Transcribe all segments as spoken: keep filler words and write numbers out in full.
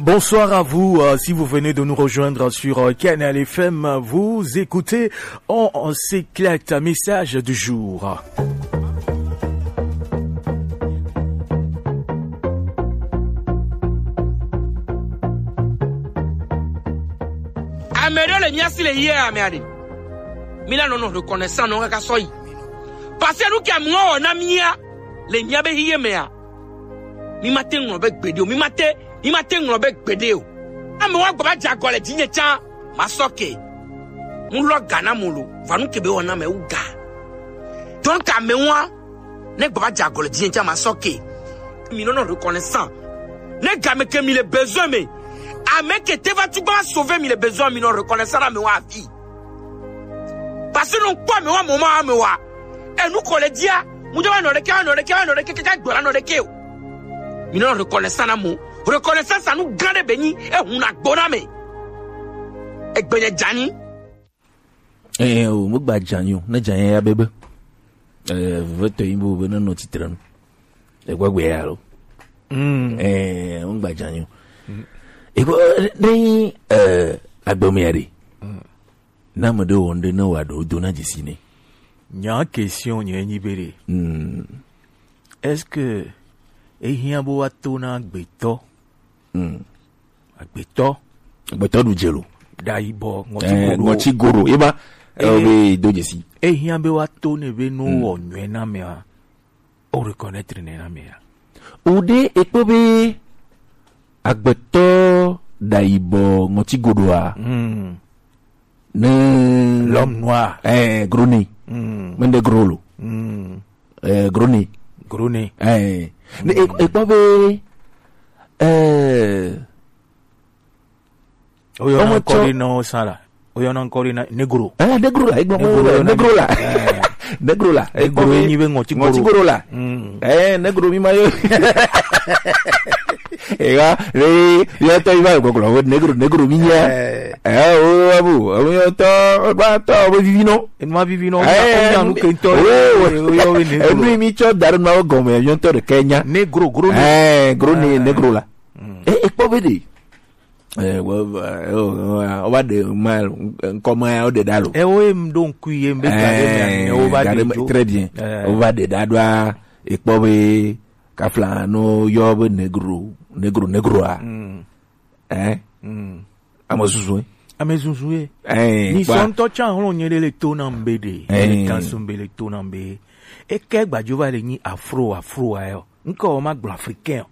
Bonsoir à vous. Euh, si vous venez de nous rejoindre sur euh, Canal F M, vous écoutez On, on s'éclate. Message du jour. Ame ɖewo le mía si le yie ame aɖe. Mí la nɔ nɔ reconnaissant nɔ kaka sɔ yi. Parce que nu ke amewo wɔ na mía le mía be hiye mea, mí ma te ŋlɔ be gbeɖe o. Mí ma te, mí ma te ŋlɔ be gbeɖe o. Amewo agba va dze agɔ le dzinye tsã, ma sɔ ke. Mu lɔ ga na mo lo, va nu ke be wɔ na me wu ga. Donc amewo ne gba va dze agɔ le dzinye tsã, ma sɔ ke. Mi nɔ nɔ reconnaissant. Ne game ke mi le besoin me, ame ke te va tu gba va sauver mi le besoin, mi nɔ reconnaissant na amewo afi. Parce que nɔ kpɔ amewo, amewo ma amewo a. Enu ko le dia, mu jɔ va nɔ ɖeke, va nɔ ɖeke, va nɔ ɖeke, kaka gbɔ la nɔ ɖeke o. Mi nɔ reconnaissant na mo. Reconnaissance anu gã ɖe be nyi, ehun na gbo na me. Egbe nye dzani. Eh, o, mo gba dzani o, ne dzani ya bebe. Eh, veve tɔ yi bo be ne nɔ titre nu. Egbe gbe ya lo. Mm. Eh, mo gba dzani o. Eko, ne, eh, agbe me ya ɖe. Na ame ɖe wɔ ŋɖe ne wòaɖo do na dzesi nɛ. Nya question nye nyi be ɖe. Mm. Est-ce que ehiã be woato na agbetɔ? Mm. Agbetɔ. Agbetɔ ɖu dze lo. Ɖa yibɔ, ŋɔti eh, goɖo. Ŋɔti goɖo. Ema, eh, eh, be do dzesi. Ehiã be woato ne be no wɔ nyuie na mea. O reconnaître ne na mea. O ɖe ekpɔ be agbetɔ ɖa yibɔ ŋɔti goɖoa. Mm. Ne l'homme noir. Eh, gro nez. Mm. Mende gro lo. Mm. Eh, gro nez. Gro nez. Eh. Ne e- ekpɔ be eh Oyɔna ŋkɔ ɖe na wo sã la. Oyɔna ŋkɔ ɖe na negro. Eh, negro la, egblɔ negro la. Negro la. Negro la. Egblɔ be nyi be ŋɔti goro la. Mm. Eh, negro mi ma yo. Eya, le, le tɔ yi va gbɔgblɔ, negro, negro mi nya. Eh, o, abu, o, yo tɔ, o, ba tɔ, o, vivi no. E ma vivi no, o, nya nu ke ŋtɔ. O, yo we negro. Enu mi tsɔ da ɖe na wo gɔme, yo ŋtɔ ɖe ke nya. Negro, gro ne. Eh, gro ne, negro la. Mm. Eh, ekpɔ be ɖe. Eh, wo, eh, wo, wo va ɖe ma, ŋkɔ ma ya wo ɖe ɖa lo. Eh, wo ye m ɖo ŋkui ye m be ga ɖe me, eh, ne wo va ɖe dzo. Très bien. Eh. Wo va ɖe ɖa ɖoa, ekpɔ be kafla no yɔ be negro, negro, negroa. Mm. Eh? Mm. Ame susu ye. Ame susu ye. Eh, ni kpa. Sɔ ŋutɔ tsã hlɔ̃ nye ɖe le to nam be ɖe. Eh. Le kan sum be le to nam be. Eke gbadzo va le nyi afro, afro ayo. Ŋkɔ wo ma gblɔ africain o.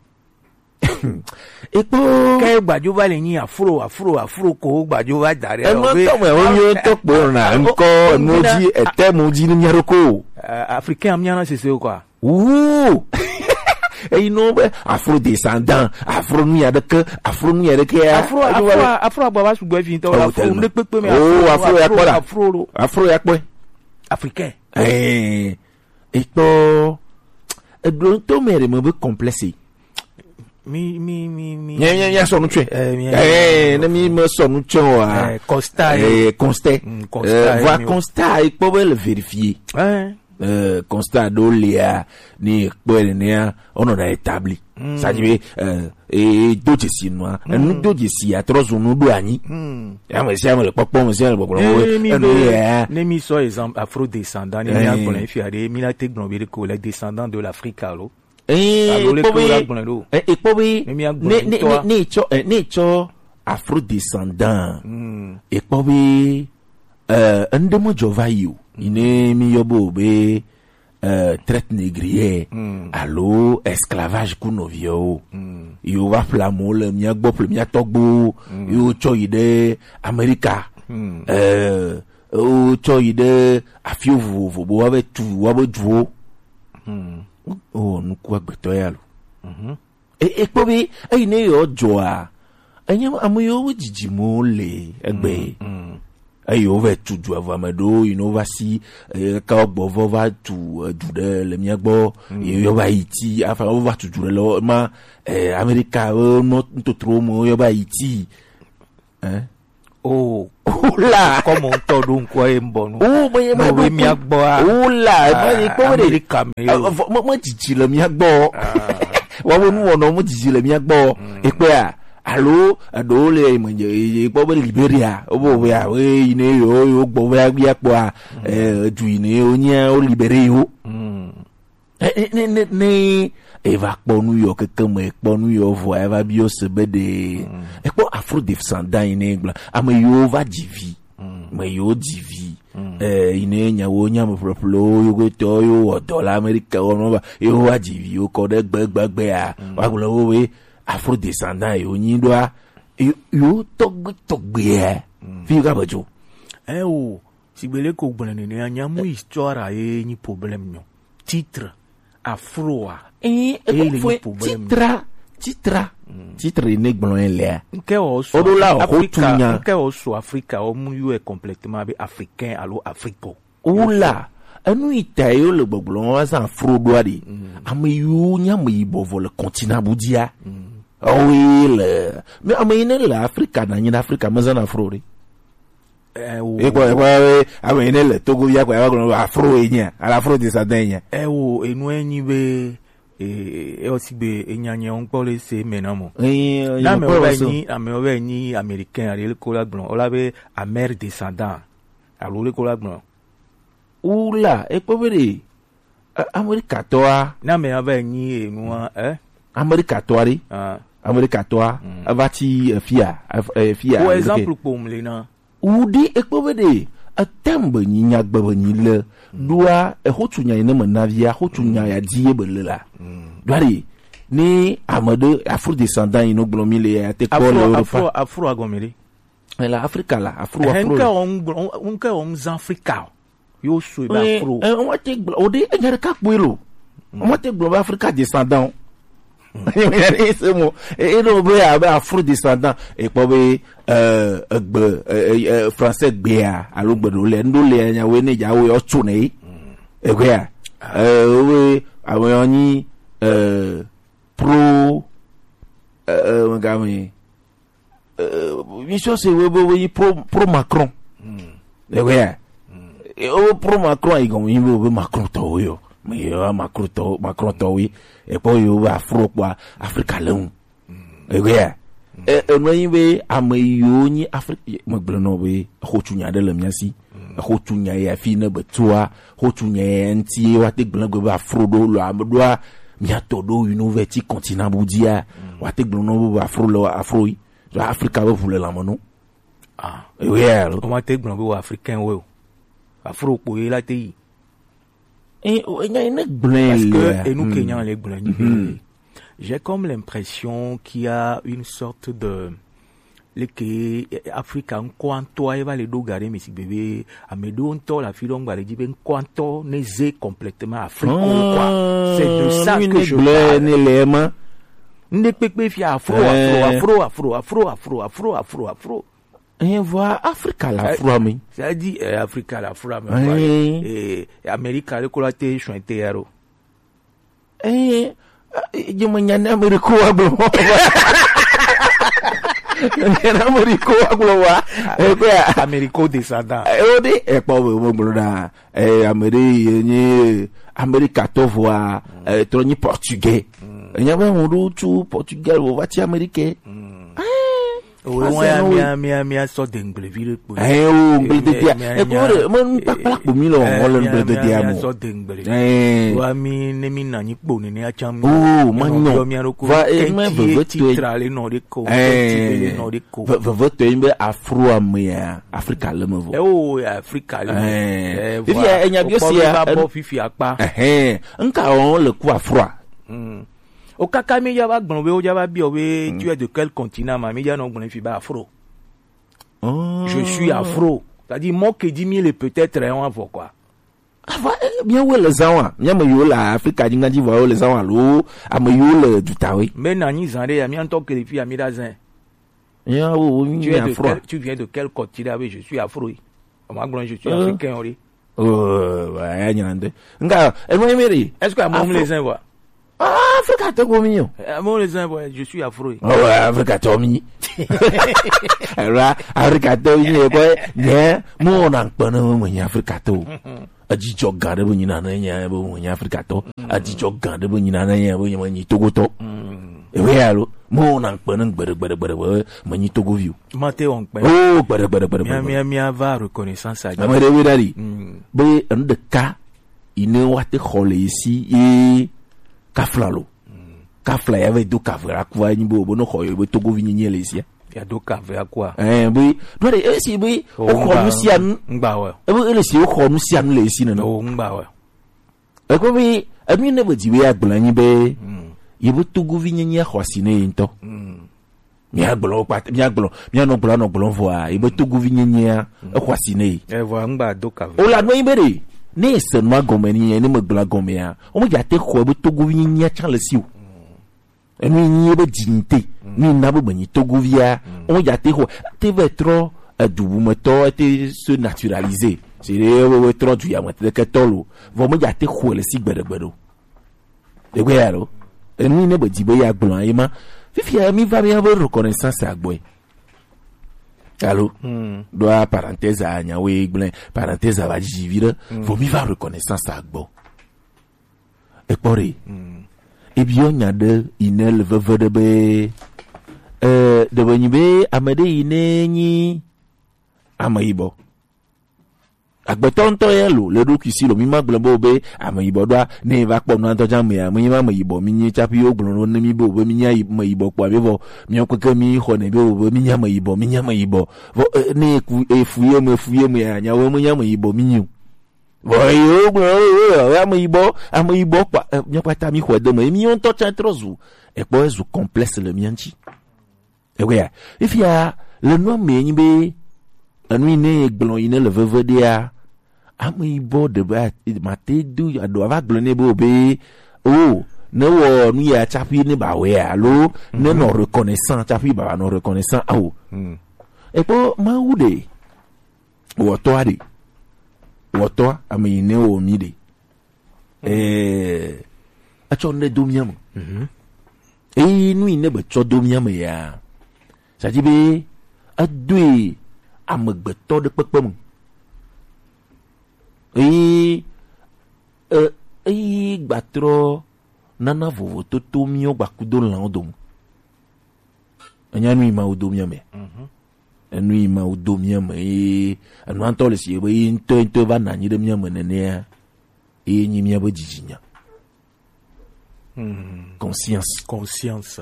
Ekpo. Ke gbadzo va le nyi afro, afro, afro ko gbadzo va da ɖe. Enu tɔ me wo nyo tɔ kpo na ŋkɔ enu dzi ete mu dzi ni mia ɖo ko. Africain amia na sese o quoi. Wuu. Eyi no be afro descendant, afro nu ya ɖeke, afro nu ya ɖeke ya. Afro, afro, afro agba va sugbɔ efi ŋutɔ. Oh, afro tellement. Ne kpekpe me. Oh, afro ya kpɔ la. Afro lo. Afro ya kpɔ. Africain. Eh. Ekpɔ eɖo ŋutɔ me ɖe me be complexe. Mi, mi, mi, mi. Mia, mia, mia sɔ nu tsɔe. Eh, mia, eh, ne mi me sɔ nu tsɔe wa. Eh, constat, eh, constat. Mm, constat, eh, voilà, mi constat, ekpɔ be le vérifier. Eh. Eh, constat ɖo lia, ni ekpɔe nenea, on a établi. Mm. Ça dit, eh, e do dzesi nua. Mm. Enu do dzesi atrɔ zu nu ɖo anyi. Mm. Ame sia ame le kpɔkpɔ, ame sia ame le gbɔgblɔ. Eh, mi enu be, ya. Ne mi sɔ exemple afro descendant, ne mi agblɔ efi aɖe, mi la te gblɔ be ɖe ko le descendant de l'Afrique alo. Eh, alo le ekpɔ ko be, la gblɔ ɖo. Eh, ekpɔ be, ne mi agblɔ ne, ne, ŋutɔa. Ne, ne tsɔ, eh, ne tsɔ afro descendant. Mm. Ekpɔ be, eh, ŋɖe me dzɔ va yi o. Mm. Yi ne mi yɔ be o be, euh, traite négrière, mm, alo esclavage ku nɔviwo. Mm. Yo va ƒle amewo le mía gbɔ, ƒle mía tɔgbuiwo, mm, yo tsɔ yi ɖe Amerika. Mm. Euh, wo tsɔ yi ɖe afi vovovo be woava tu woƒe duwo. Mm. Oh, nuku agbetɔ ya lo. Mhm. E, ekpɔ be eyi ne yɔ dzɔa, enye ame yiwo dzidzimewo le egbe. Mm, mm. Eye wova tu du avɔ ame ɖewo yi ne wova si, eye kaka wogbɔ vɔ va tu edu ɖe le mía gbɔ, mm, ye yɔ va yi ti, afa wova tu du ɖe le ma, eh, Amerika wo nɔ ntotro me yɔ va yi ti. Eh? Oh. Ola. Kɔmɔ ŋutɔ ɖo ŋkɔ ye ŋbɔ nu. Oh, me ye ma be mía gbɔ a. Ola, ma ye kpɔ be ɖe. Amerika me yo. Eh, vɔ, me, me dzidzi le mía gbɔ. Ah. Wa wo nu wɔnɔ me dzidzi le mía gbɔ. Mm. Ekpɔa, Alo eɖewo le yi me dze yi kpɔ be Liberia, wo be wo ya wo yi ne yo yo gbɔ be agbia kpɔa, eh, edu yi ne yo nya wo libere yo. Eh, eh, ne ne ne eva kpɔ nu yɔ keke me kpɔ nu yɔ vɔ eva bi yo se be de ekpɔ afro descendant yi ne gblɔ ame yiwo va dzi vi, ame yiwo dzi vi, eh, yi ne nyawo nya me ƒleƒlewo yo go tɔ yo wɔ dɔ le Amerika wo no va yo va dzi vi yo kɔ ɖe gbe gbegbe ya wa gblɔ wo be afro descendant yo nyi ɖoa yo yo tɔgbe tɔgbe ya fi ga be jo. Eh, o, si gbele ko gblɔ nene anya mu histoire ye nyi problème nyo. Titre afro a. Eh, e ko fo problème. Titra titra titra ne gblɔ ye lea. Nke o so Odo la o Afrika, tunya. Nke o so Afrika o mu yo e complètement be africain alo africo. Wula enu yi ta yo le gbɔgblɔ wa zan afro ɖoa ɖi. Ame yiwo nye ame yibɔ vɔ le continent bu dzia. Ɔwe le mi ame yi ne le Afrika na nyi na Afrika me zan afro ɖi. Ewo. Ekpɔ ekpɔ be ame yi ne le Togo ya kɔ ya gblɔ afro yi nya ala afro descendant yi nya. Ewo enu enyi be e e osi be enya nya ŋkpɔ le se me na mo. Na me wa nyi ame wa nyi américain ale ko la gblɔ ola be amer descendant alo le ko la gblɔ. Wula ekpɔ be ɖe Amerikatɔa. Ne ame ya va nyi enua eh? Amerikatɔa ɖe. Amerikatɔa eva ti efia efia. Wo exemple kpom le na. Wu ɖi ekpɔ be ɖe etem be nyi nyagbe be nyi le ɖoa exotu nya yi ne me navia xotu nya ya di ye be le la. Ɖoa ɖe ne ame ɖe afro descendant yi no gblɔ mi le ya te kpɔ le Europa. Afro agɔme ɖe. Le Afrika la afro afro. Nke o ngblɔ nke o zan Afrika o. Yo sue be afro. Eh, eh, wọ́n ti gblɔ o de enya ɖeka kpɔe lo. Wọ́n ti gblɔ be Afrika descendant. Enya ɖe se mo e e ɖo be abe afro descendant e kpɔ be eh, egbe eh, eh, eh, français gbea alo gbe ɖo le ndo le nya wo ne dza wo yɔ tso ne yi. Egbea eh, wo be ame yɔ nyi eh, pro eh, eh, megame eh, mi sɔ se wo be wo yi pro pro Macron. Ewe ya o pro Macron yi gɔn yi be wo be Macron tɔ wo yo me yi wa Macron tɔ Macron tɔ wo yi ekpɔ yi wo be afro kpɔ Afrika le ŋu. Ewe ya e enu yi be ame yiwo nyi Afrika me gblɔ nɔ be exo tu nya ɖe le mia si. Exo tu nya ya fi ne be tua xo tu nya ya ŋti wa te gblɔ gbe be afro ɖo lo ame ɖoa mia tɔ ɖo yi no ve ti continent bu dia wa te gblɔ nɔ be afro le afro yi. Afrika be ʋu le lãme no. Ah, oui, alors. Comment te gblɔ be wo africain wo? Afro kpo ye la te yi. Eh, oh, enya ne gblɔ. Parce que enu ke nya le gblɔ ni. J'ai comme l'impression qu'il y a une sorte de leke Afrika ŋkɔantɔa ye va le ɖo ga ɖe mi si gbe be ame ɖewo ŋutɔ le afi ɖewo ŋgba le dzi be ŋkɔantɔ ne ze complètement Afrique quoi. C'est de ça que je parle. Ne le ma. Nde kpekpe fia afro afro afro afro afro afro afro afro afro. Hein, vɔ Afrika la afro ami. C'est-à-dire eh, Afrika la afro ami. Eh, Amerika le kola te shwente yaro. Eh, je me nyane Ameriko wa gblɔ. Nyane Ameriko wa gblɔ wa. Eh, quoi? Ameriko descendant. Eh, o de e kpɔ be mo gblɔ na. Eh, Ameri ye nyi Amerika to vɔa, eh, to nyi portugais. Enya be mo do tu Portugal wo va ti Amerike. Owe wọn ya mia mia mia sɔ de ŋgblevi ɖe kpo. Ɛ o ŋgblededea ekpo ɖe me nukpakpla kpo mi le wɔwɔ le ŋgblededea mo. Sɔ de ŋgblevi. Wa mi ne mi na nyi kpo nene atsa mi. O ma nyɔ. Va e me veve to e. Tra le nɔ ɖe ko. Ɛ veve to e be afro amea Afrika le me vo. Ɛ o Afrika le me. Ɛ via enya bi o sia. Bɔ fifi akpa. Ɛhɛn nka wɔn le ku afroa. O kaka mi ya va gblɔ be wo ya va biɔ be tu es de quel continent ma mi ya nɔ gblɔ fi ba afro. Je suis afro. C'est-à-dire mɔ ke di mi le peut-être en avant quoi. Ava eh, bien wo le zan wa. Mia me yo le Afrika di ngadi va wo le zan wa lo. Ame yo le dutawe. Mais na nyi zan de ya mi antɔ ke fi ya mi da zan. Ya wo wo mi afro. Tu viens de quel continent? Je suis afro. On m'a gblɔ je suis africain ori. Oh, ouais, ya nyina nde. Nga, e mo meri. Est-ce que amu le zan wa? Ah, Afrika to ko mi yo. Amu le zan wa, je suis afro. Oh, ouais, Afrika to mi. Era Afrika to mi ko nye mo na nkpana mo nya Afrika to. Ajijɔ gan de bo nyina na nya bo mo nya Afrika to. Ajijɔ gan de bo nyina na nya bo nya nyi Togo to. Ewe ya lo, mo na nkpe ne gbede, gbede, gbede, gbede, me nyi Togovi o. Ma te wɔn kpɛ. Oh, gbede, gbede, gbede, Mia, gbede. Mia, mia va reconnaissance a. Ame ɖe we ɖa ɖi. Mm. Be enu ɖeka yi ne wa te xɔ le esi ye kafla lo. Mm. Kafla ya ve do kave la kua nyi bo, bo no xɔ yo be Togovi nyi nyi le esi. Ya do kave a kua. Eh, be, do de esi be, Oh, o xɔ ngba, nu sia nu. Ngba we. Ebe ele si o xɔ nu sia nu le esi nene. Oh, ngba we. Ekpɔ be, enu yi ne be dzi be ya gblɔ anyi be, Mm. ye be Togovi nyenye xɔ asi ne ye ŋutɔ. Mm. Mia gblɔ wo kpata, mia gblɔ, mia nɔ gblɔ, nɔ gblɔ vɔa, ye be Togovi nyenyea, Mm. exɔ asi ne ye. Eh, vɔa, ŋgba do ka ve. O la nɔ yi be ɖe, ne ye se nua gɔme ni, ne me gblɔ gɔmea, o me dza te xɔ be Togovi nyenyea tsã le si o. Enu yi nyi be dzi nyi te, Mm. nu yi na be menyi Togovia, Mm. o me dza te xɔ, te vɛ trɔ, edu bumetɔ, ete se naturaliser. C'est-à-dire, we, we trɔ du ya me te ke tɔ lo. Vɔ me dza te xɔe le si gbeɖe gbeɖe o. Egbe ya ɖo. Enu yi ne be dzi be ya gblɔ ye ma. Fifia mi va mi be reconnaissance agbɔe. Alo? Hmm. Ɖoa parenthèse a nya we gblẽ, parenthèse a va dzi vi ɖe. Hmm. Vɔ mi va reconnaissance agbɔ. Ekpɔ ɖe. Hmm. Ebiɔ nya ɖe yi ne le veve ɖe be, eh, ɖe be nyi be ame ɖe yi ne nyi ame yibɔ. Agbetɔ ŋutɔ ye lo, le ɖokui si lo, mi ma gblɔ be, be ame yibɔ ɖoa, ne va kpɔ nua ŋutɔ dza amea, mi ma ame yibɔ, mi nyi tsaƒe wo gblɔ ne mi be, be mi nyi ayi-, ame yibɔ kpɔ abe vɔ, mi keke mi xɔ ne be, be mi nyi ame yibɔ, mi nyi ame yibɔ. Vɔ, eh, ne eku, efu ye me, efu ye me, ya, nyawo me nyi ame yibɔ, mi nyi o. Vɔ, ye wo gblɔ, wo, wo, wo, ame yibɔ, ame yibɔ kpɔ, eh, mi kpata mi xɔ de me, mi ŋutɔ tsa trɔ zu, ekpɔ zu complexe le mia ŋuti. Ewe ya. Fifia, le nua me nyi be, enu yi ne gblɔ yi ne le veve ɖea, ame yibɔ ɖe be, a-, mate do aɖo ava gblɔ nɛ be, o be, o, ne wɔ nu ya tsaƒe ne ba wɔe alo, ne Mhm. nɔ reconnaissant tsaƒe ba nɔ reconnaissant, ao. Hmm. Ekpɔ Mawu ɖe, wɔtɔa ɖe, wɔtɔa, ame yi ne wɔ mi ɖe. Eh, etsɔ nu ɖe do mía me. Mhm. Eye nu yi ne be tsɔ do mía me ya, c'est-à-dire be edoe amegbetɔ ɖe kpekpe me. Eye, eh, eye gbatrɔ nana vovototo míwo gbakudo lãwo dome. Enya nu yi Mawu do mía me. Mhm. Enu yi Mawu do mía me ye, enua ŋutɔ le si be ye ŋutɔ, ŋutɔ va nɔ anyi ɖe mía me nenea, ye nyi míabe dzidzinya. Hmm. Conscience. Conscience.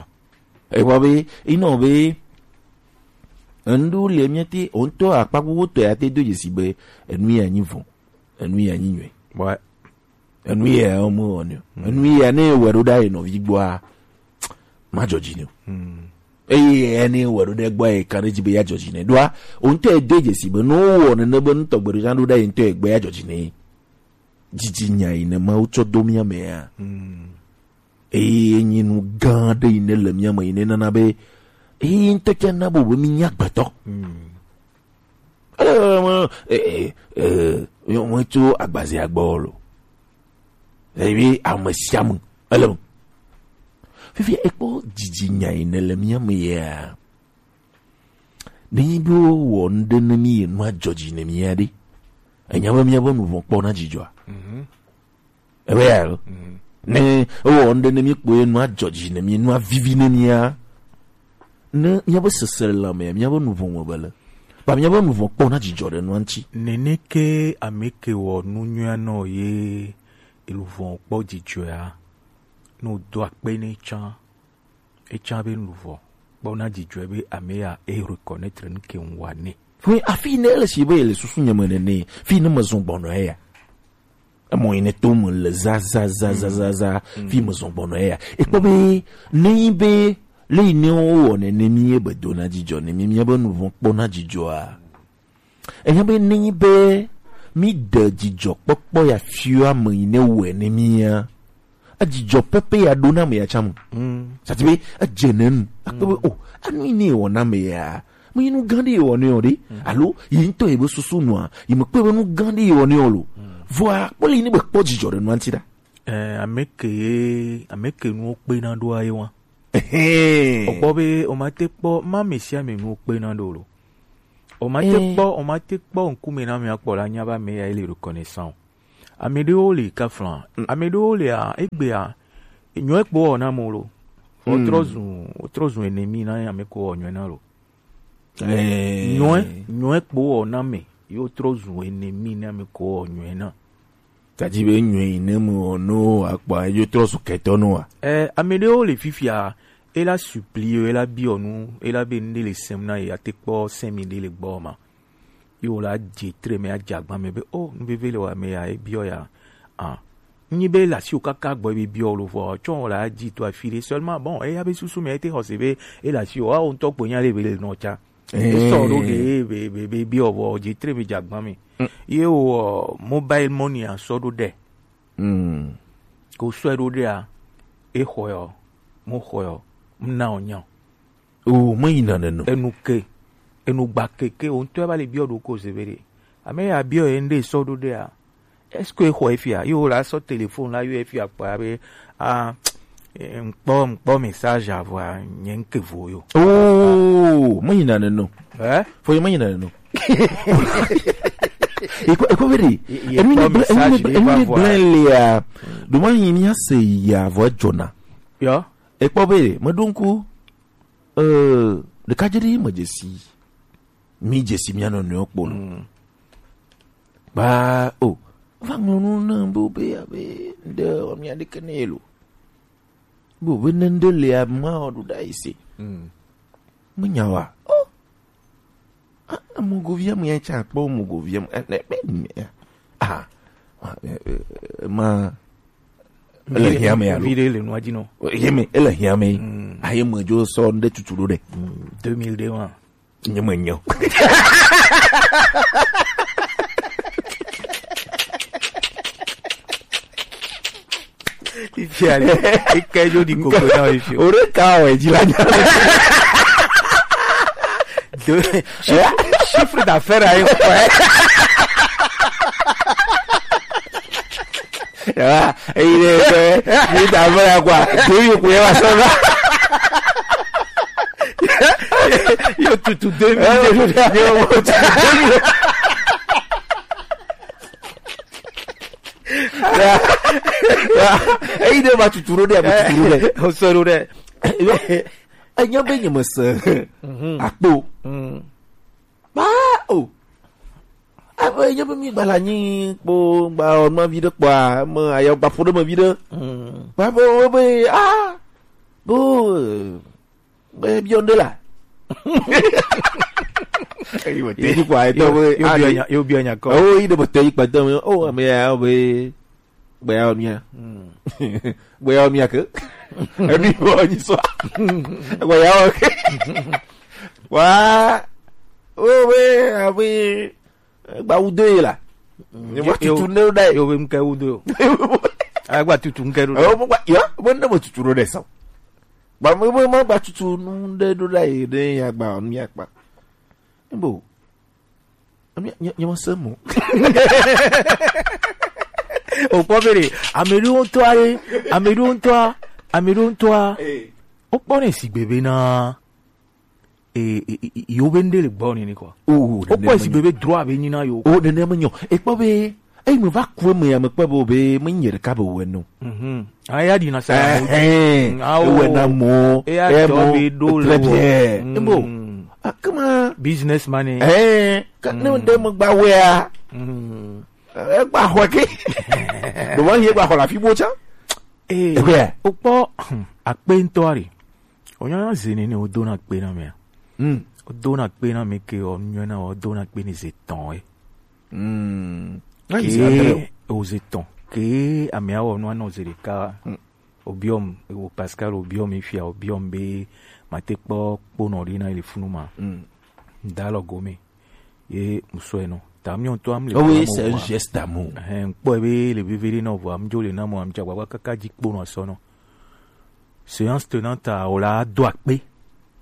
Ekpɔ be, enɔ be, enu ɖewo le míate, wo ŋutɔ akpa gbogbo tɔ ya te do dzesi be, enu ya nyi vɔ̃, enu ya nyi nyui. Ouais. Enu ya wo me wɔnɛ o. Mm. Enu ya ne wɔ ɖo ɖa yi nɔvi gbɔa, ma dzɔ dzi ne o. Mm. Eye ya ne wɔ ɖo ɖe gbɔ yi kan ɖe dzi be ya dzɔ dzi ne. Ɖoa, o ŋutɔ edo dzesi be ne wowɔ nene be nutɔ gbe ɖo ɖa ɖo ɖa yi ŋutɔ egbe ya dzɔ dzi ne. Dzidzinya yi ne Mawu tsɔ do mía mea. Mm. Eye enyi nu gã aɖe yi ne le mía me yi ne nana be, eye ŋutɔ tsã na be, be mí nye agbetɔ. Mm. Ele, eh, eh, eh, yo, mo tso agbazia gbɔ lo. Ebi ame sia ame, ele me. Fifia, ekpɔ dzidzinya yi ne le mía me yea. Ne yi be wowɔ nu ɖe ne mí yi nua dzɔ dzi ne mía ɖe. Enya be míabe nu vɔ̃ kpɔ na dzidzɔa? Mhm. Ebe ya lo. Mhm. Ne ewɔ nu ɖe ne mí kpɔ ye nua dzɔ dzi ne mí, nua vivi ne mía. Ne míabe seselelãmea, míabe nu vɔ̃ me be le. Ba míabe nu vɔ̃ kpɔ na dzidzɔ ɖe nua ŋuti. Neneke ame ke wɔ nu nyuia nɔ ye elu vɔ̃ kpɔ dzidzɔa, no do akpe ne tsã. Etsã be nu vɔ̃ kpɔ na dzidzɔe be ame ya e reconnaître nu ke ŋwa nɛ. Ƒe afi ne ele si be ele susu nye me nene, fi ne me zɔ gbɔnɔ eya. Emɔ yi ne to me le za, za, za, za, za, za, Mm. fi me zɔ gbɔnɔ eya. Ekpɔ be, ne yi be, le yi ne wo wɔ nene mi ye be do na dzidzɔ ne mi, mi be nu vɔ̃ kpɔ na dzidzɔa. Enya be nenyi be mí ɖe dzidzɔkpɔkpɔ ya fia ame yi ne wɔe ne mía, edzidzɔ pɛpɛ ya ɖo na ame ya tsã me. Mm. Sati be edze ne nu. Akpɔ be, Mm. o, anu yi ne wɔ na ame ya. Me yi nu gã ɖe wɔ ne o ɖe. Mm. Alo, yi ŋutɔ yi be susu nua, yi me kpɔe be nu gã ɖe wɔ ne o lo. Mm. Vɔa, kpɔ le yi ne be kpɔ dzidzɔ ɖe nua ŋuti ɖa. Eh, ame ke ye, ame ke nuwo kpe na ɖoa ye wa. Ehɛn. Okpɔ be, o ma te kpɔ, ma ame sia ame nuwo kpe na ɖo lo. O ma te Eh. kpɔ, o ma te kpɔ ŋkume na ame akpɔ la nya be ame ya ele reconnaissant o. Ame ɖewo le kafla. Mm. Ame ɖewo le a, egbea, nyɔe kpɔ wɔ na mo lo. Wotrɔ zun wotrɔ zun enemi na ame ko wɔ nyɔe na lo. Nyɔe nyɔe kpo wɔ na me. Ye wotrɔ zun enemi na ame ko wɔ nyɔe na. Tadi be nyɔe yi ne mu wɔ no akpa ejo trɔ su kɛtɔ no wa. Eh, ame ɖewo le fifia, ela supplier, ela biɔ nu, ela be nu ɖe le sɛm na ye, ate kpɔ sɛmi ɖe le gbɔ ma. Ye wòle adze tre me adze agba me be, oh, nu veve le wɔ ame ya ebiɔ ya. Ah. Nyi be le asiwò kaka gbɔ be biɔ lo vɔ tsɔ wòle adzi to afi ɖe seulement bon eya be susu me ete xɔse be ele asiwò awo ŋutɔ kpo nya ɖe be le nɔ tsa. Esɔ ɖo ge be be be biɔ vɔ dze tre me dze agba me. Ye wò mobile money asɔ ɖo ɖe. Ko sɔe ɖo ɖea, exɔe ɔ, mo xɔe ɔ, mna ɔ nya. O, me yina neno. Enu ke, enu gba ke ke o ŋutɔ va le biɔ ɖo ko se be ɖe. Ame ya biɔ ye ŋɖe sɔ ɖo ɖea. Est-ce que exɔ efia? Yo la sɔ téléphone la yo efia kpa be, ah, eh, ŋkpɔ ŋkpɔ message avɔa nye ŋke vo yo. O, me yina neno. Eh? Fo ye me yina neno. Eko eko be ɖe. Enu ne bla enu ne bla enu ne bla le ya. Do ma yin ya se ya vo jona. Yo. Ekpɔ be me ɖo ŋku. Eh, ɖeka dze ɖi me dzesi. Mi dzesi mia nɔnɔewo kpɔ lo. Ba o, va ŋlɔ nu na bo be abe nde o mia ɖeke ne lo. Bo be ne nde le ama o ɖo ɖa ise. Me nya wa. Oh. Ah, mogovia mu ya tsa kpɔ mogovia mu. Eh, ne be ne. Ah. Ah, eh, eh, ma Ele hiã me alo? Viɖe le nua dzi nɔ. Ye me, ele hiã me. Aye me dzo sɔ nde tutu ɖo ɖe. Deux mille deux wa. Nye me nyɔ. Ifia le. Ike jo di koko na ifio. Ore ka o e dzi la nya. Deux, chiffre, chiffre d'affaires aye kɔ. Ya, eyi ɖe ebe, mi da ame ya kɔa, ɖevi ko ye va sɔ va. Yo tutu deux mille deux. Yo tutu deux mille. Ya, ya, eyi ɖe va tutu ɖo ɖe, va tutu ɖo ɖe. O sɔ ɖo ɖe. Yo, enye be nye me se akpo. Ba o. Abe nye be mi gba la nyi kpo gba ɔnma vi ɖe kpɔa me ayɔ gba ƒo ɖe me vi ɖe. Ba be wo be ah bo be biɔ nde la. Eyi wo te yi kpɔa etɔ be yo biɔ nya yo biɔ nya kɔ. O yi ɖe be te yi kpɔa etɔ me o ame ya be Gbeyawo mia. Gbeyawo mia ke. Emi wo nyi so. Gbeyawo ke. Wa. O we, a we. Gba wudo ye la. Ni wa tutu ne da. Yo be mke wudo yo. Agba tutu mke do. O mo gba yo, mo ne mo tutu do de so. Gba mo mo gba tutu nu de do da ye de ya gba mia gba. Bo. Nye, nye, nye mese mo. Wokpɔ be ɖe, ame ɖewo ŋutɔa ɖe, ame ɖewo ŋutɔa, ame ɖewo ŋutɔa, wokpɔnɛ sigbe be na, e, e, e, e, yewo be ŋɖe le gbɔ nene kɔ. O, wokpɔe sigbe be droit be nyi na yewo. O, nene me nyɔ. Ekpɔ be, eyi me va ku eme ya, me kpɔ be, be, me nye ɖeka be wɛ no. Mhm. Aya ɖi na sa. Ɛhɛn. Awo. Ewɛ na mɔ. Eya dɔ be ɖo le wɔ. Très bien. Ebo. Akama. Businessman. Ɛhɛn. Ka ne de mo gba wea. Egba xɔ ke. Do wa ye gba xɔ la fi bo cha. Eh. Ewɛ. O kpɔ akpe ŋutɔ ari. O nya ze nene o do na akpe na mea. Mm. O do na akpe na me ke o nyɔ na o do na akpe ni ze tɔn e. Mm. Ke o ze tɔn. Ke amea wɔ nua nɔ ze ɖeka. Mm. Obiɔm, o Pascal obiɔm ifia obiɔm be mate kpɔ kponɔ ɖi na ili funu ma. Mm. Dalɔ gome. Ye musɔe nɔ. Ta miɔ ŋutɔ am le. Oh oui, c'est un geste d'amour. Hein, kpɔ be le veve ɖe nɔ vɔ am dzo le na mo am dza gbagba kaka dzi kponɔ sɔ nɔ. Séance tenante a o la do akpe.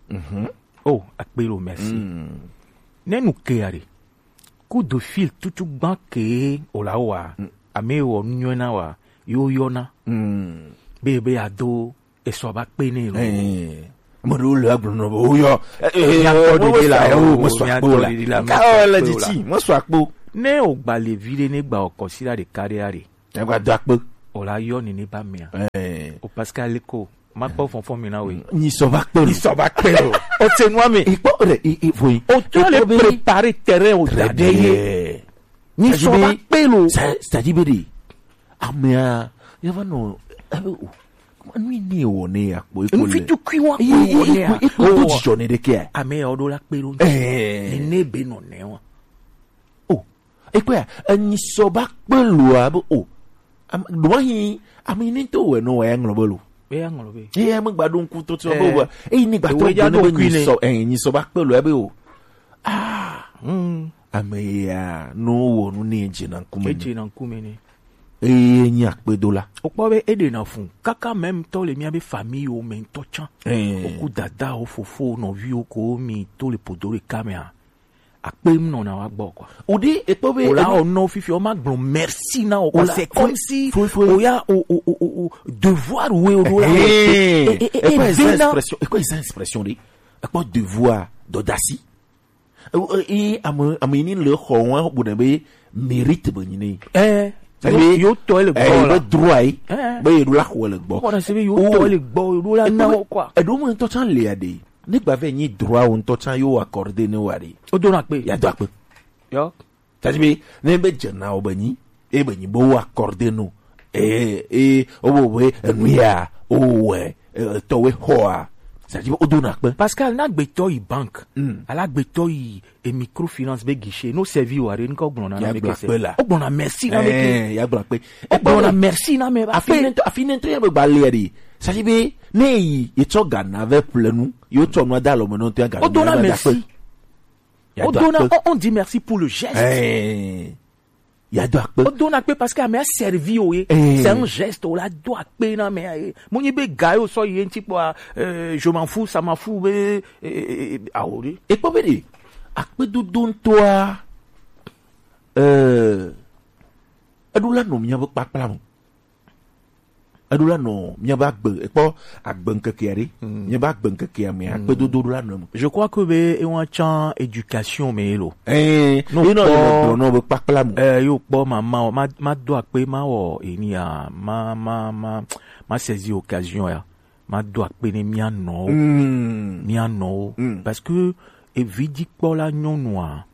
Mhm. Oh, akpe lo merci. Mm. Ne nu ke ya ɖe. Coup de fil tutu gban ke o la wa. Mm. Ame wɔ nyɔna wa. Yo yɔna. Mm. Be be ya do esɔ ba kpe ne lo. Eh. Mo do le agblɔ nɔ bo yo. Eh, eh, nya tɔ de la o, mo sɔ akpo la. Ka o le diti, mo sɔ akpo. Ne o gba le vi ɖe ne gba o kɔsi la ɖeka ɖe ya ɖe. Egba do akpe. O la yɔ ni ne ba mea. Eh. O Pascal ko. Ma kpɔ fɔnfɔn mi na we. Nyi sɔ va kpe lo. Nyi sɔ va kpe lo. O se nua mi. Ikpɔ ɖe i i foi. O tɔ le préparer terrain o da ɖe ye. Nyi sɔ va kpe lo. C'est-à-dire be de. Amea ya va nɔ ebe o. Nu yi ne wɔ ne ya kpɔ eko le. Nufi tukui wa kpɔ wɔ ne ya. Eko do dzidzɔ ne ɖe ke. Ame ya o do la kpe lo. Eh. Ne be nɔ ne wa. O. Ekpɔa, enyi sɔ ba kpe loa be o. Am- ɖoa hi ame yi ne to wɛ nɔ wɛ ya ŋlɔ be lo. Be ya ŋlɔ be. Eye ame gba ɖo ŋku to to be o. Eyi ne gba to be ne be nyi sɔ eh nyi sɔ ba kpe loa be o. Ah. Ame ya no wɔ nu ne dze na ŋkume. Edze na ŋkume ne. Eye nyi akpedola. Wokpɔ be eɖena fu kaka même tɔ le mía be famille wo me ŋutɔ tsã. Woku dada wo fofo nɔviwo ko mi to le podo ɖeka mea. Akpe ŋu nɔna wa gbɔ quoi. O ɖe ekpɔ be o la o nɔ fifi o ma gblɔ merci na o quoi. C'est comme si o ya o o o o devoir we o ɖo la. Ekpɔ eza expression, ekpɔ eza expression ɖe. Ekpɔ devoir dɔdasi. Eye ame ame yi ni le xɔ wa bu ne be mérite be nyi ne. Eh. Yo tɔ le gbɔ la. Be droit yi. Be yeɖo la xɔ le gbɔ. Kɔ na se be yo tɔ le gbɔ yeɖo la na o quoi. Eɖo me ŋutɔ tsã le ya ɖe. Ne gba vɛ nyi droit wo ŋutɔ tsã yo accordé ne wa ɖe. O do na kpe. Ya do akpe. Yo. Tadi be ne be dze na wo be nyi e be nyi be wo accordé no. E e o bo be enu ya o wɛ tɔ we xɔa. Tadi be o do na kpe. Pascal na gbetɔ yi bank. Ala gbetɔ yi e microfinance be guichet no servi wa ɖe nka o gblɔ na na me kese. O gblɔ na merci na me ke. Ya gblɔ kpe. O gblɔ na merci na me ba. Afi ne to afi ne to ya be gba le ɖe. Tadi be ne yi ye tsɔ ga na ve ple nu. Yo tsɔ nu da lɔ me no to ya ga. O do na merci. O dona on, on dit merci pour le geste. Eh, ya do akpe. O dona akpe parce que ame a servi o ye. Eh. C'est un geste o la do akpe na me ye. Mo nyi be ga yo so ye nti po a, euh, je m'en fous, ça m'en fout be eh, eh, eh, ah, o de. E kpɔ be de akpe dodo ŋutɔa. Euh, eɖo la nɔ mía be kpakpla me. Eɖo la nɔ míabe agbe ekpɔ agbe ŋkekea ɖe. Míabe agbe ŋkekea mea akpedodo ɖo la nɔ eme. Je crois que be ewa tsã éducation me lo. Eh, no, ino kpɔ, le gblɔ nɔ be kpakpla mu. Eh, yo kpɔ ma ma ma ma do akpe ma wɔ enia ma ma ma ma saisi occasion ya ma do akpe ne mía nɔwo. Mía nɔwo. Parce que evi dzi kpɔ la nyɔnua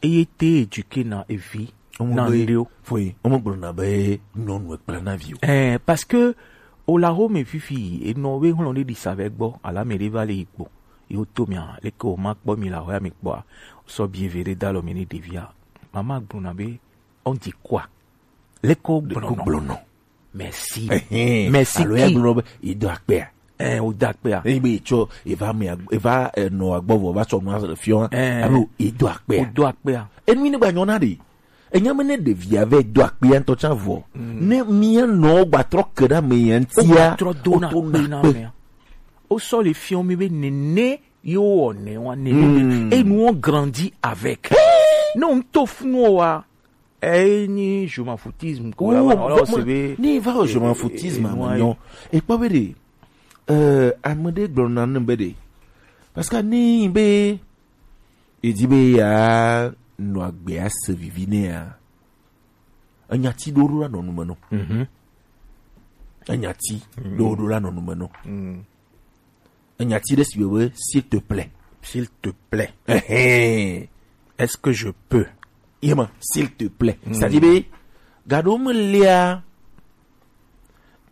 eye te éduquer na evi na ŋɖewo. Foi, o me gblɔna be nyɔnu ekpla na viwo. Eh, parce que o la ho me fifi enɔ be hlɔn ɖe ɖi sa vɛ gbɔ ala me ɖe va le yi kpo. Yo to mia leke o ma kpɔ mi la ho ya mi kpɔa. Sɔ bi eve ɖe da lɔ me ne ɖevia. Mama gblɔna be on dit quoi? Leke o gblɔnɔ? Merci. Merci. Alo ya gblɔ be yi do akpea. Eh, o do akpea. Eyi be etsɔ eva me eva enɔ agbɔvɔ va sɔ nua fiɔ. Eh. Alo yi do akpea. O do akpea. Enu ne gba nyɔna de. Enya me ne ɖevia vɛ do akpea ŋutɔ tsã vɔ. Ne mía nɔ gba trɔ ke ɖe ame ya ŋutia. O gba trɔ do na akpe na mea. O sɔ le fiɔ mi be nene yo wɔ ne wa nene. Et nous on grandit avec. Ne o ŋutɔ funu wa. Eyi nyi je m'en foutisme ko la va wala se be ni va o je m'en foutisme me nyɔ. E kpɔ be de euh ame ɖe gblɔ na ne be de parce que ni be e di be ya nɔ agbe a se vivi ne ya. Enya ti ɖo ɖo la nɔ nu me no. Enya ti ɖo ɖo la nɔ nu me no. Enya ti ɖe si be s'il te plaît. S'il te plaît. Est-ce que je peux? Yema, s'il te plaît. C'est-à-dire be gado me lia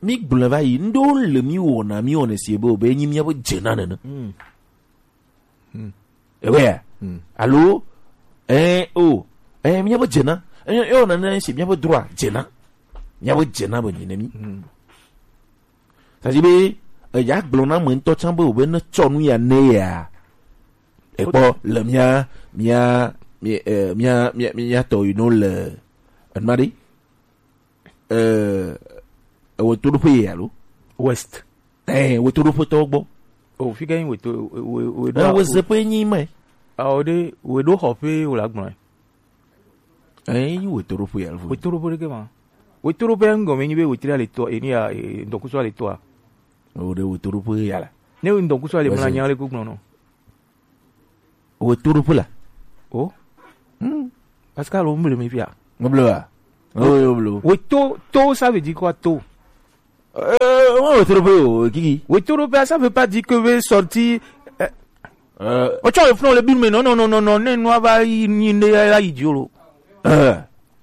mi gblɔ va yi ndo le mi wɔna mi wɔna si be o be nyi mi abo dze na nene. Ewe ya? Alo eh o eh mi abo dze na eh o na ne si mi abo droit dze na. Mi abo dze na be nyi ne mi. Tadi be eya gblɔ na ame ŋutɔ tsã be o be ne tsɔ nu ya ne ya. Ekpɔ le mía mía mía eh, mía mía mía tɔ yi no le enuma ɖe eh ewe to ɖoƒe ye alo west. Eh, we to ɖoƒe tɔwo gbɔ. O fi ke nyi we to we we eh, we zeƒe nyi me. Awo ɖe we ɖo xɔ ƒe wo la gblɔ. Eh, nyi we to ɖoƒe ya. We to ɖoƒe ɖe ke ma. We to ɖoƒe ŋgɔ me nyi be we tri ale tɔ eni ya ŋdɔkusu ale tɔa. O ɖe we to ɖoƒe ya la. Ne we ŋdɔkusu ale mla nya le ko gblɔ nɔ. We to ɖoƒe la. O. Hmm. Parce que alo mble me fia. Mble wa. O yo blo. We to to ça veut dire quoi to? Euh, Oh, wetoroƒe o, Kiki. Wetoroƒe, ça veut pas dire que we sorti. Euh, euh, o tsɔ le funu le bi me, non, non, non, non, non, ne nua va yi, ni ne ya yi dzi o lo. Euh,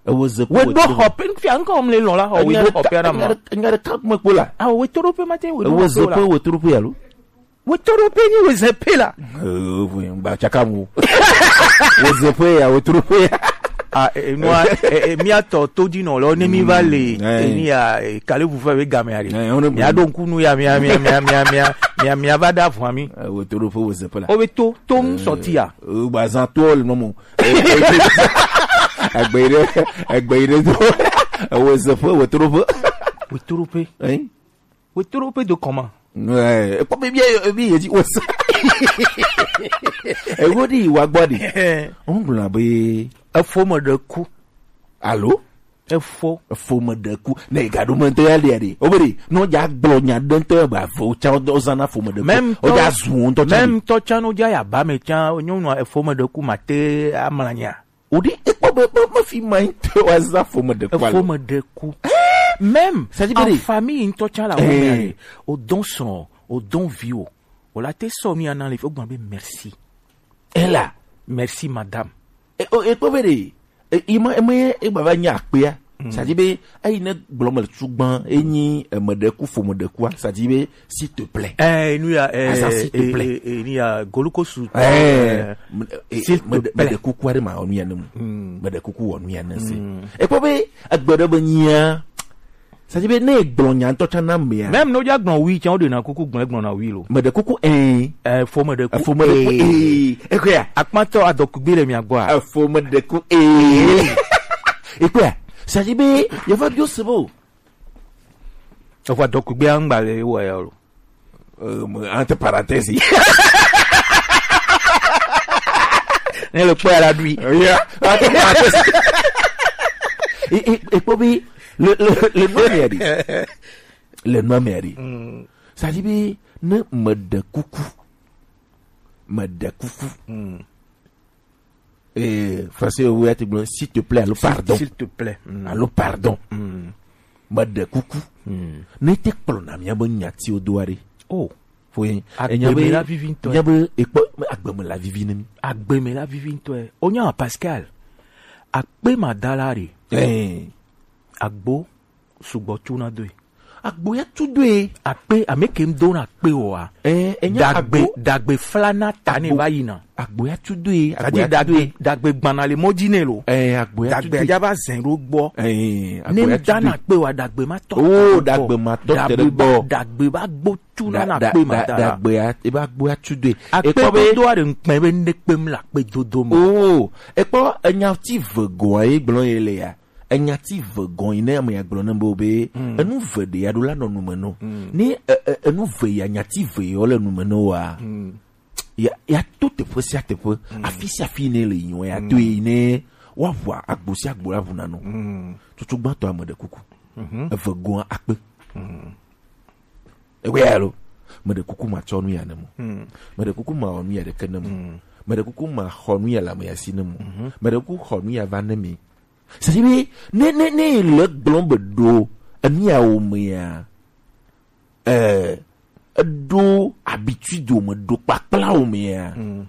ewo ze we do xɔ pe fia ŋkɔ mle lɔ la xɔ, we do xɔ pe na ma. Nya ɖeka me kpo la. Ah, wetoroƒe ma te, we do xɔ pe la. Ewo ze pe wetoroƒe alo? Wetoroƒe ni we ze pe la. Euh, oui, ba tsaka mu. Wo ze pe ya, wetoroƒe ya. Ah, eh, nua, eh, eh, mía tɔ todinɔlawo, ne mi va le, mm, eh, ni ya, eh, kale ʋu fɛ be game ya ɖe. Eh, on est bon. Mía ɖo ŋku nu ya, mía, mía va ɖa vɔa mi. Eh, wetoroƒe wo ze pe la. O be to, to ŋu sɔti ya. Eh, ba zan to le nɔmɔ. Eh, eh, agbe yi ɖe, agbe yi ɖe do. Eh, wo ze pe, wetoroƒe. Wetoroƒe. Hein? Wetoroƒe do comment? Ouais, ekpɔ be bi, bi ye di wo sa. Ewo di wa gbɔ di. On gblɔ be efo me ɖe ku. Alo? Efo. Efo me ɖe ku. Ne ga ɖo me ŋutɔ ya lia ɖe. O be ɖe, no dza gblɔ nya ɖe ŋutɔ ba vo tsa o zana fo me ɖe ku. Même o dza tɔ-, zu o ŋutɔ tsa même ɖe. Tɔ tsa no dza ya ba me tsa, nyɔnua efo me ɖe ku ma te amlanya. O ɖe ekpɔ be, be, be fi ma ŋutɔ wa za fo me ɖe ku alo. Efo me ɖe ku. Même c'est-à-dire en be famille ŋutɔ tsa la, eh, o dɔn srɔ̃, o dɔn vi o. O la te sɔ nu ya na le fi, o gblɔ be merci. Ela. Merci, madame. E, o, ekpɔ be ɖe, e, ima, ima ye, e gbava nya akpea. Mm. C'est-à-dire be, eyi ne gblɔ me le tugban, enyi, e, me ɖe ku, fo me ɖe kua, c'est-à-dire be, s'il te plaît. Eh, nu ya, eh, asa, s'il te plaît. Eh, eh, nu ya, golukosu. Eh, eh, me, eh, s'il te plaît. Me ɖe kuku aɖe ma wɔ nu ya ne mu. Mm. Me ɖe kuku wɔ nu ya ne se. Mm. Ekpɔ be, egbe ɖe be nyia, c'est-à-dire be ne gblɔ nya ŋutɔ tsã na mea. Même no dza gblɔ wi tsã, wo ɖe na kuku gblɔ, gblɔ na wi lo. Me ɖe kuku, eh. Eh, fo me ɖe ku, eh, fo me ɖe ku, eh. Eh. Ekɔya. Akpatɔ adɔkugbe le mia gbɔa. Eh, fo me ɖe ku, eh. Ekɔya. C'est-à-dire be, yeva bio se bo. Efo adɔkugbea ŋgba le wɔ ya lo. Euh, entre parenthèses. Ne le kpɔ ya la ɖui. Yeah, entre parenthèses. Et, et, et puis, le, le, le nom est dit. Le nom est dit. Mm. Ça dit, mais, ne me de coucou. Me de coucou. Mm. Eh, français, oui, tu gblɔ, s'il te plaît, alo pardon. S'il te plaît. Mm. Alo pardon. Mm. Meɖe kuku. Mm. Ne te kplɔna mía be nyatiwo doa ɖe. Oh. Fo ye. Agbe me la vivi ŋutɔ. Nya be ekpɔ, agbe me la vivi ne mi. Agbe me la vivi ŋutɔ. Onya Pascal. Akpe ma da la ɖe. Eh. Agbo sugbɔ tu na doe. Agbo ya tu doe. Akpe, ame ke ŋdo na akpe o wa. Eh, enya dagbe, agbo. Dagbe flana ta ne va yina. Agbo ya tu doe. Agbo ya tu doe. Dagbe gbana le mɔ dzi ne lo. Eh, agbo ya tu doe. Dagbe ya va zɛn ɖo gbɔ. Eh, ne agbo ya tu doe. Ŋda na akpe wa dagbe ma tɔ. Oh, dagbe ma tɔ te ɖe gbɔ. Dagbe va gbo tu na na akpe ma da la. Dagbe ya, e va gbo ya tu doe. Akpe dodo a ɖe ŋkpɛ be ne kpem le akpe dodo me. Oh, ekpɔ enya ti ve goa ye gblɔ ye le ya. Enya ti ve gɔn yi ne ame ya gblɔ ne be, be, mm, enu ve ɖe ya ɖo la nɔ nume nɔ. Mm. Ni, e, e, enu ve ya nya ti ve yɔ le nume nɔ wa. Mm. Ya, ya to teƒe sia teƒe, mm, afi sia afi ne le yi ya to yi ne wa ʋua agbo sia agbo la ʋuna nɔ. Mm. Tutu gbãtɔ ame ɖe kuku. Mhm. Eve gɔn akpe. Mm. Ewe ya lo. Meɖe kuku ma tsɔ nu ya ne mo. Mm. Meɖe kuku ma wɔ nu ya ɖeke ne mo. Mm. Meɖe kuku ma xɔ nu ya le ame ya si ne mo. Mhm. Meɖe kuku xɔ nu ya va ne mi. C'est-à-dire be, ne, ne, ne le gblɔm be ɖo, enu ya wo mea, eh, eɖo habitude wo me, ɖo kpakpla wo mea, mm,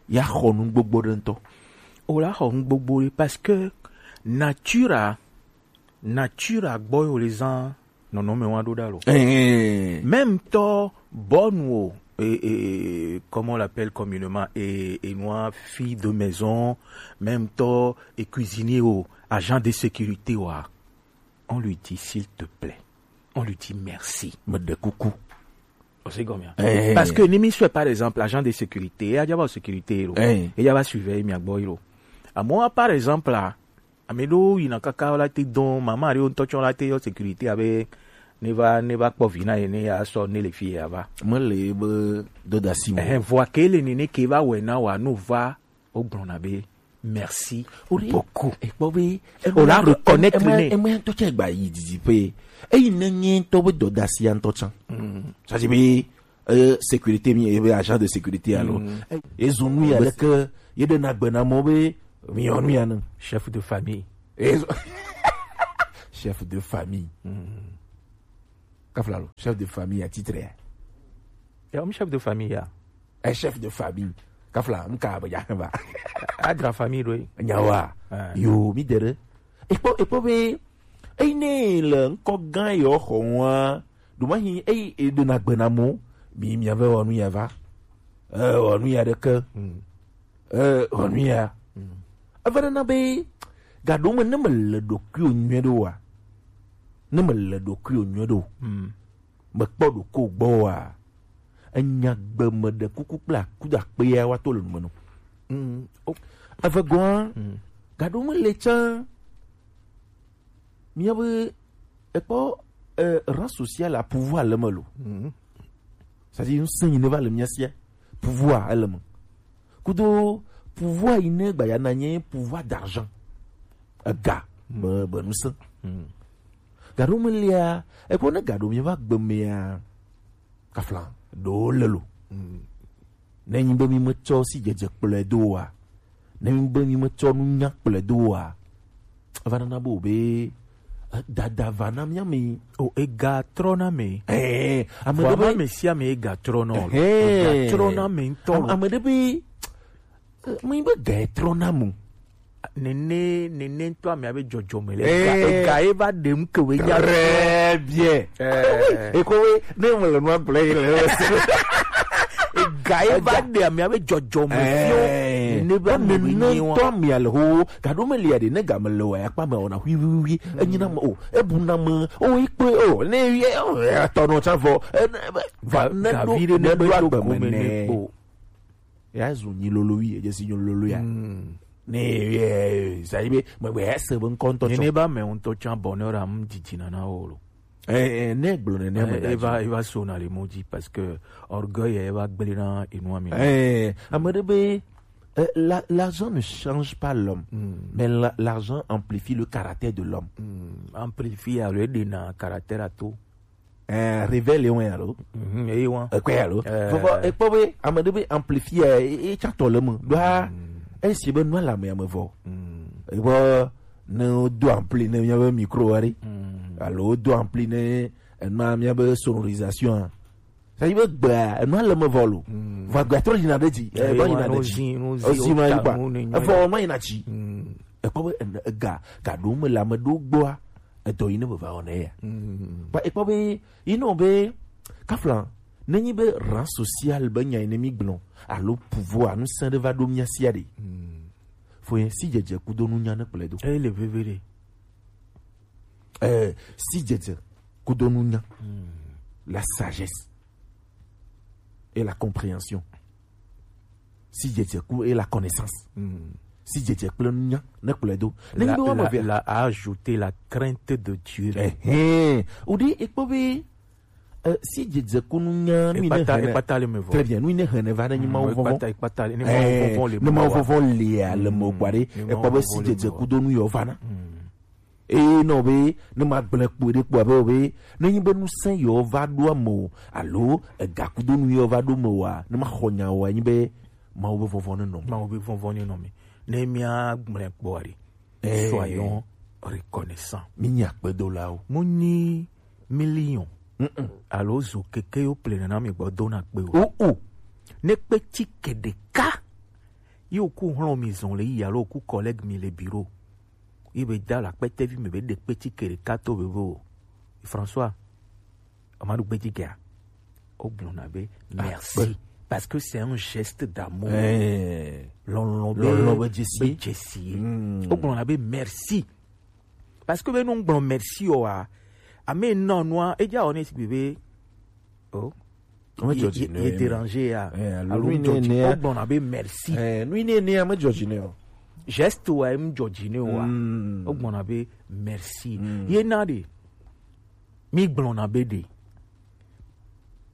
ya xɔ nu gbogbo ɖe ŋutɔ. O la xɔ nu gbogbo ɖe parce que nature a, nature a gbɔ yo le zan nɔnɔme wa ɖo ɖa lo. Eh. Même tɔ bɔnu o, et, et, et, comment on l'appelle communément, et, et noir, fille de maison, même tɔ et cuisinier o, agent de sécurité wa. On lui dit, s'il te plaît. On lui dit merci. Meɖe kuku. O se gɔmia. Eh. Parce que ni mi soit par exemple agent de sécurité, ya va sécurité lo. Eh. Ya va surveiller mi agbo lo. À moi par exemple là, ame ɖewo yina kaka la te dɔn, mama ɖewo ŋutɔ tsɔ la te yɔ sécurité abe ne va, ne va kpɔ vi na ye ne ya sɔ ne le fi ya va. Mele be dodasi mo. Ehe, vɔa ke le nene ke va wɛ na wa no va, o gblɔna be merci beaucoup. Ekpɔ be o la reconnaître ne. Eme ŋutɔ tsɛ gba yi didiƒe. Eyi ne nye ŋutɔ be dɔdasi ya ŋutɔ tsã. Mm. Ça dit be, euh, sécurité mi, ebe agent de sécurité alo. Mm. Ezo nu ya leke, ye ɖe na gbe na mɔ be mi yɔ nu ya ne. Chef de famille. Ezo chef de famille. Mm. Kafla lo, chef de famille à titre ya. Ya, um chef de famille ya. Un chef de famille. Kafla, um ka ba ya ba. Adra famille do. Nyawa. Ah. Yo, mi dere. Ekpo, ekpo be, eyi ne le ŋkɔ gã yɔ xɔ ŋua, do ma hi, eyi e do na gbe na mo, mi, mi ave wɔ nu ya va. Eh, wɔ nu ya ɖeke. Hmm. Eh, wɔ nu ya. Hmm. Ava na be, ga ɖo me ne me le ɖokuiwò nyuie ɖo wa. Ne me le ɖokuiwò nyuie ɖo. Hmm. Mekpɔ ɖoko gbɔ wa, enya gbe me ɖe kuku kple akudo akpea woato le nume nɔ. Mm, o- Eve gɔ̃a, mm, gaɖo me le tsã. Míabe ekpɔ, eh, rang social a pouvoir le me lo. Mm. C'est-à-dire, ŋusẽ yi ne va le mía sia, pouvoir ele me. Kudo pouvoir yi ne gbaya na nye pouvoir d'argent. Ega, mm, be, be ŋusẽ. Mm. Gaɖo me lia, ekpɔ ne gaɖo mi va gbe mea, kafla, ɖo le lo. Mm. Ne nyi be mi me tsɔ si dzedze kplɔe do wa, ne nyi be mi me tsɔ nunya kplɔe do wa, eva nana be o be, eh, dada va na mía me. O, ega trɔ na me. Eh, ame ɖe be ame sia ame ega trɔ na o. Eh. Ega trɔ na me ŋutɔ. Ame, ame ɖe be, eh, me be ga trɔ na mu. Nene, nene ŋutɔ amea be dzɔdzɔme le. Eh. Ega, ega ye va ɖe ŋu ke we nya. Très bien. Eh. Eko we, ne me le nua gblɔ ye le. Ega ye va ɖe amea be dzɔdzɔme fio. Eh. Nene be ame be nyi wa. Ŋutɔ amea le ho, gaɖo me lia ɖe, ne ga me le wa, ya kpa me ona hui, hui, hui. Enyi na me o, ebu na me o, ikpe o, ne ye o, etɔ nɔ tsa vɔ. Eh, ne, va, ga-, ne gavi ɖo, ɖe ne ne ɖo ɖo agbe me agbe me ne ne kpo. Ya zu nyi lolo wi, edze si nyi lolo ya. Mm. Ne, eh, ça y est, be, me, be, ese be ŋkɔ ŋutɔ tsɔ. Nene ba me ŋutɔ tsã bonheur am didi nana o lo. Eh, eh, ne gblɔ nene me. Eh, da eva, dzi. Eva so na le mo dzi parce que orgueil eva gblẽ na enu ami. Eh, ame ɖe be, eh, la, l'argent ne change pas l'homme, mm, mais la, l'argent amplifie le caractère de l'homme. Mm, amplifie alo eɖena caractère ato. Eh, révélé wɔn ya lo. Mhm, eyi wɔn. Ekpɛ ya lo. Eh. Vɔvɔ, ekpɔ be, ame ɖe be amplifier, e, e, tsatɔ le me. Ɖoa, mm, esi be nua le ame ya me vɔ. Mm. Ekpɔ, ne wodo ampli ne míabe micro wa ɖe. Mm. Alo wodo ampli ne enua míabe sonorisation a. Ça y est, be gbea, enua le me vɔ lo. Mm. Vɔ agbea trɔ yina ɖe dzi. Eh, eh, va yina ɖe dzi. Ozi, ozi, ozi ma yi kpa. Evɔ ma yina dzi. Mm. Ekpɔ be ene-, ega, ga ɖewo me le ame ɖewo gbɔa, edɔ yi ne be va wɔna ya. Mm. Ba, ekpɔ be, yi nɔ be, kafla, ne nyi be rang social be nya yi ne mi gblɔ, alo pouvoir, ŋusẽ ɖe va ɖo mía sia ɖe. Mm. Fo yɛ si dzedze kudo nunya ne kplɔe do. Ele veve ɖe. Eh, si dzedze kudo nunya. Mm. La sagesse et la compréhension. Si dzedze ku et la connaissance. Mm. Si dzedze kple nunya ne kplɔe do. Ne nyi be wɔme eve la, la a ajouté la crainte de Dieu. Ehɛn. O ɖe ekpɔ be, eh, si dzedze ku nunya, nu yi ne ekpata, hene. Ekpata le me vɔ. Très bien, nu yi ne hene va ne nyi Mawu vɔvɔn. Ekpata, ekpata, ne Mawu vɔvɔn le me vɔ. Eh, ne Mawu vɔvɔn le a le me o kpa ɖe, mm, ekpɔ be si dzedze kudo nu yɔ va na. Mm. Eye nɔ be, ne ma gblẽ kpo ɖe kpo abe o be, ne nyi be ŋusẽ yewo va ɖo ame o, alo egakudonu yewo va ɖo me oa, ne ma xɔ nya oa, nyi be Mawu be vɔvɔ̃ ne nɔ me. Mawu be vɔvɔ̃ ne nɔ me. Ne mía gblẽ kpɔa ɖe, eh, soyons reconnaissants. Mi nyi akpedolawo. Mu nyi million. Mm-mm. Alo zo keke yo ple nana mi gbɔ dona kpe o. O, o. Ne kpe ti ke ɖeka. Yi oku hlɔ̃ mi zɔn le yi alo oku collègue mi le bureau. Ye be da la kpɛtɛvi me be ɖe kpeti ke ɖeka to be be o. François, Amadou Gbedzi gea, o gblɔna be merci. Parce que c'est un geste d'amour. Eh. Lɔlɔ̃ be, lɔlɔ̃ be dzesi. Be dzesi. Mm. O gblɔna be merci. Parce que be nu gblɔ merci o wa, ame nɔ nua, edza o ne si be, o. Ame dzɔ dzi ne ye, ye déranger ya. Eh, alo alo nu yi ne ne ya. O gblɔna be merci. Eh, nu yi ne ne ya me dzɔ dzi ne o. Geste wa em dzɔ dzi ne o wa. Mm. O gblɔna be merci. Mm. Ye na ɖe. Mi gblɔna be ɖe.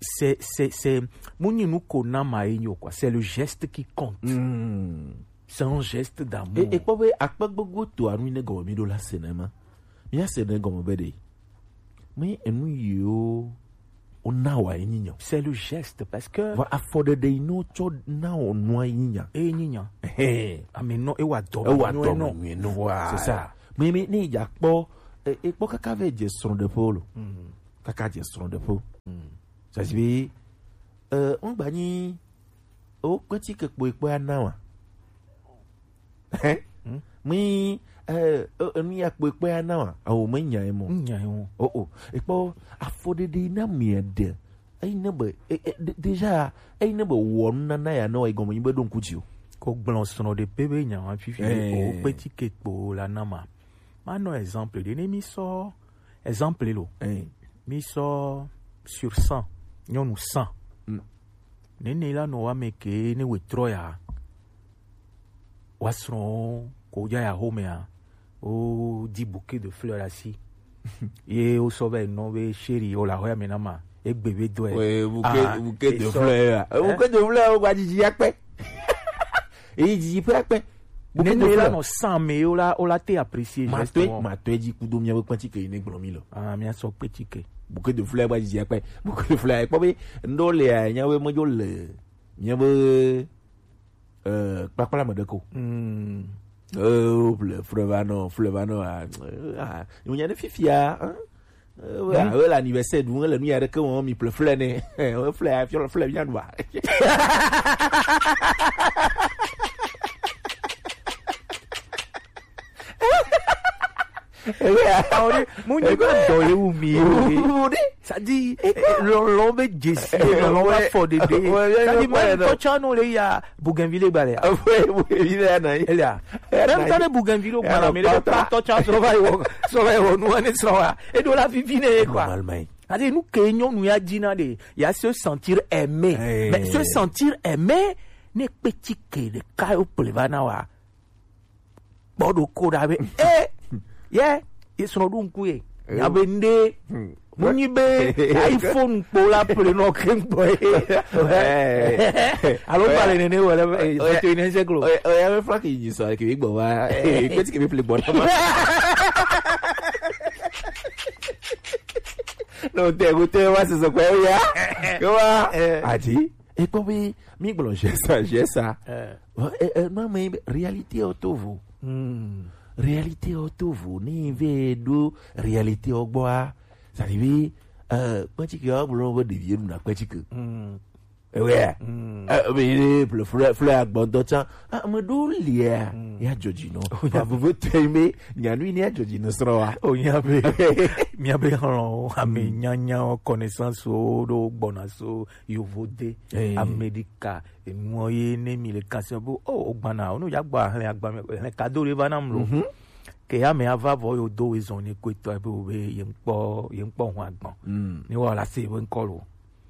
C'est, c'est, c'est, mu nyi nu ko na ma ye nyo quoi. C'est le geste qui compte. Mm. C'est un geste d'amour. E, e kpɔ be akpe gbogbo to anu yi ne gɔme mi ɖo la se ne ma. Mi ya se ne gɔme be ɖe. Mi enu yiwo wona wa ye nyi nya. C'est le geste, parce que vɔ afɔɖeɖe yi ne wotsɔ na wò nua ye nyi nya. Eye nyi nya. Ehe. Ame nɔ, ewa dɔ ewa dɔ nyuie nɔ. Nyuie nɔ. Voilà. C'est ça. Mais, mais, ne dza kpɔ, e, e kpɔ kaka vɛ dze srɔ̃ɖeƒewo lo. Mm. kaka dze srɔ̃ɖeƒe. Ça veut dire be, euh, ŋgba nyi wo kpetike kpo ekpɔ ana wa. Hein? Mi, euh, euh, enu ya kpo ekpɔ ana wa. Awo me nya emo. Nya emo. Oh, oh. Ekpɔ afɔɖeɖe na mi ɖe. Eyi ne be, e, e, de- déjà, eyi ne be wɔ nunana ya ne wa igɔme nyi be ɖo ŋku dzi o. Ko gblɔ srɔ̃ɖeƒe be nya wa fifi. Eh. O kpetike kpo la na ma. Ma nɔ exemple ɖe ne mi sɔ exemple lo. Eh. Mi sɔ sur cent, nyɔnu cent. Mm. Nene la nɔ wa me ke ne we trɔ ya. Wa srɔ̃ ko ja ya home ya. O di bouquet de fleurs asi. Ye o sɔ be nɔ be chérie o la hɔ ya me na ma. Egbe be dɔe. Ouais, bouquet, ah, bouquet de fleurs ya. Eh? Bouquet de fleurs o gba didi ya kpe. E yi didi pe akpe. Bouquet de fleurs. Nene la nɔ san me o la, o la te apprécier. Ma to, ma to dzi kudo mia be kpetike yi ne gblɔ mi lo. Ah, mia sɔ kpetike. Bouquet de fleurs gba didi ya kpe. Bouquet de fleurs ya kpɔ be ndo le ya nya be medzo le. Mia be euh, kpakpla me ɖe ko. Mm. Euh, ple fleur va nɔ, fleur va nɔ, ah, ah, nya ne fifia, hein? Euh, ouais, hmm? Ah, ouais, l'anniversaire, donc, le nuit avec on mi ple fleur ne. Ouais, fleur, fleur, fleur vient voir. Awo ɖe, mu nyi be dɔ ye wu mi ye wo ɖe. Wo ɖe. Ça dit, eh, eh, lɔlɔ be dzesi, eh, lɔlɔ be afɔɖeɖe. Ça dit, même tɔtsɔ no le ya bougainvillée gba le ya. Bougainvillée ya na yi. Elia. Même tɔ ne bougainvillée gba la, mais le pa tɔtsɔ so va yi wɔ, so va yi wɔ nu ne srɔ̃ wa. E do la vivi ne ye quoi. Normalement. Ça dit, nous que nyɔnu ya dina de, ya se sentir aimé. Eh. Mais se sentir aimé, ne petit que de ka yo ple va na wa. Kpɔ ɖo ko ɖa be, eh, ye, ye srɔ̃ ɖo ŋku ye. Eh. Nya be nde, hmm, mu nyi be iPhone kpo la ple nɔ ke ŋgbɔ ye. Eh. Alo ba le nene wele, eh, oya, oya, oya, me fla ke yi sɔ ke gbɔ va. Eh, kpeti ke me ple gbɔ na ma. No, te, go te, wa se so kwa ya. Ke wa. Eh. Ati. Ekpɔ be mi gblɔ jesa, jesa. Eh. E, e, ma me be réalité o to vo. Hmm. Réalité o to vo. Ni ve do réalité o gbɔa. Ça dit be, euh, kpetike o gblɔ be ɖevi nu na kpetike. Hmm. Ewe. Hmm. Euh, be, be, fleur, fleur agbɔndɔ tsa. Ah, me do lia. Hmm. Ya jɔji no. Oh, ya. Ba vovo tɛ me, nya nu ni ya jɔji no srɔ̃ wa. Oh, nya be. Mia be hɔn, ame nyanya, connaissance o do gbɔna so. Yovode, eh, Amerika, enuwo ye ne mi le kanse be, oh, ogbana, onu ya gba hlẽ agba me, hlẽ kado ɖe va nam lo. Mhm. Ke ya me ava vɔ yo do we zɔn ne ko etɔ be o be ye ŋkpɔ, ye ŋkpɔ hun agbɔn. Mm. Ne wa la se be ŋkɔ lo.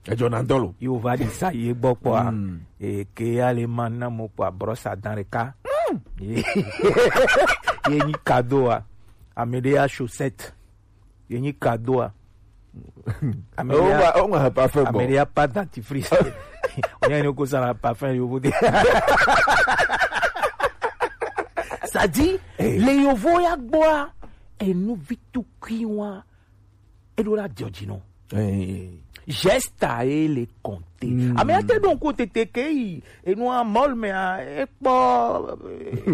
Edzɔ na ŋdɔ lo. Yo va di sa ye gbɔ kpɔa. Mm. E ke ya le ma na mo kpɔa brosse à dents ɖeka. Mm. Ye, ye nyi kadoa. Ame ɖe ya chaussette. Ye nyi kadoa. Ame ɖe ya, o ma, o ma parfum bon. Ame ɖe ya pas dentifrice. O nya ni ko sara parfum yovo de. Ça dit, eh, le yovo ya gbɔa, enu vi tukui wa, e ɖo la jɔji no. Eh. Geste a ye le compter. Mm. Ame ya te ɖo ŋku tete ke yi, enu a mɔl me a, e kpɔ,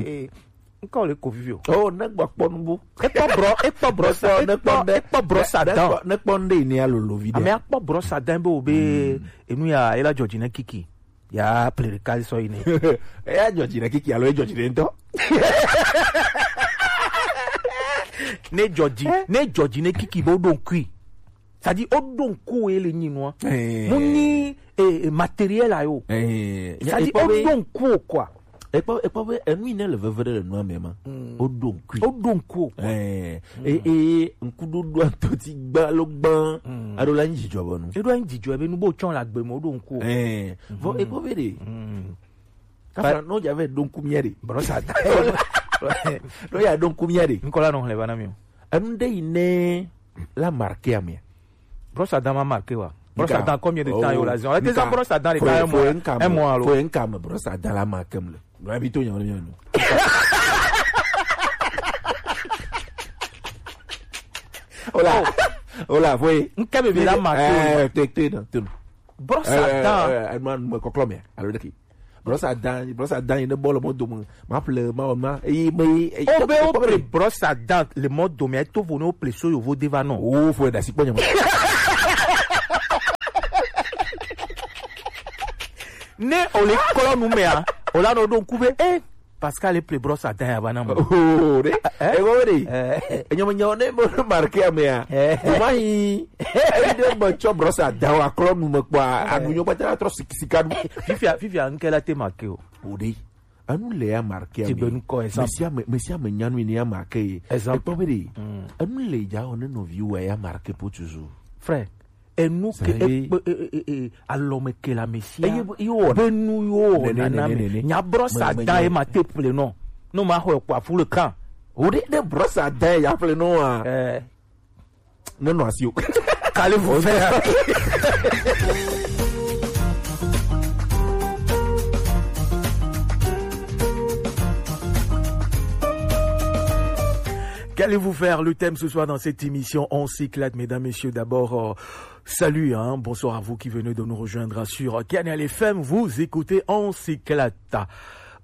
eh, Ŋkɔ le ko vivi o. Oh, ne gbɔ kpɔ nubu. Ekpɔ brɔ, ekpɔ brɔ sa, ne kpɔ, ekpɔ, ne, ekpɔ brɔ sa ne dan. Kpɔ, ne kpɔ nde ni alolo vi de. Ame akpɔ brɔ sa dan be o be, mm, enu ya, ela jɔji ne kiki. Ya ple ɖeka sɔ yi ne. Eya jɔji ne kiki alo e jɔji ne ŋutɔ. Ne jɔji, eh? Ne jɔji ne kiki be o ɖo ŋkui. C'est-à-dire, o ɖo ŋku ye le nyi nua. Eh. Mu nyi, eh, eh, matériel a yo. Eh. C'est-à-dire, o ɖo ŋku o quoi. Ekpɔ, ekpɔ be enu yi ne le veve ɖe le nua me ma. Mm. O ɖo ŋkui. O ɖo ŋku o quoi. Eh. Mm. E, e, ŋkuɖoɖo atoti gba lo gban. Mm. Aɖo la nyi dzidzɔ bɔ nu. Eɖo la nyi dzidzɔ be nu bo tsɔ la gbe me o ɖo ŋku o. Eh. Vɔ, mm, ekpɔ be ɖe. Mm. Kafa no dza vɛ ɖo ŋku mía ɖe. Brosse à dents. No ya ɖo ŋku mía ɖe. Ŋkɔ la nɔ xlẽ va na mi o. Enu ɖe yi ne la marqué amea. Brosse à dents ma marqué wa. Brosse à dents, combien de temps yo la zan? Ete zan brosse à dents ɖeka un mois, un mois alo. Faut un cas me brosse à dents la marqué me le. No abi to nya no nya no. Hola. Hola, foi. Ŋke bebe la marqué. Eh, te, te, no, te, no. Brosse à dents. Eh, eh, eh, man, mo koklo me. Alo de ki. Brosse à dents, brosse à dents yi ne bɔ le mɔ dome. Ma ple, ma wɔ ma. Eyi me, eyi. O be o ple brosse à dents le mɔ dome, eto vo ne o ple so yovo de va nɔ. O fo da si kpɔ nyama. Ne o le klɔ nu mea, o la nɔ ɖo ŋku be, eh, Pascal e ple brosse à dents ya va na mo. Oh, ɖe. Eh? E wo ɖe. Eh. Enyo me nyo ne mo marqué amea. Eh. O ma yi. E de mo tsɔ brosse à dents wa klɔ nu me kpɔ. Eh. Anu nyo pata trɔ sik-, sika nu. Fifia, fifia, nke la te marqué o. O ɖe. Anu le ya marqué amea. Ti gbe nu kɔ, exemple. Mesia me, mesia me nyanu ni ya marqué. Exemple. E kpɔ be ɖe. Mm. Anu le ja o ne nɔvi wa ya marqué pour toujours. Frère. Enu ke ekpe, e, e, e, e, alɔme ke le ame sia. Eye be, ye wɔ be nu ye wɔ nene, nana nene, me. Nene. Nya brosse à dents ye ma te ple nɔ. No ma xɔ ekpɔ afu le kan. O ɖe, ɖe brosse à dents ya ple nɔ a. Eh. Ne nɔ asi o. Qu'allez-vous faire? Qu'allez-vous faire? Le thème ce soir dans cette émission, on s'éclate, mesdames, messieurs. D'abord, euh, salut, hein, bonsoir à vous qui venez de nous rejoindre sur Kanal F M. Vous écoutez, on s'éclate.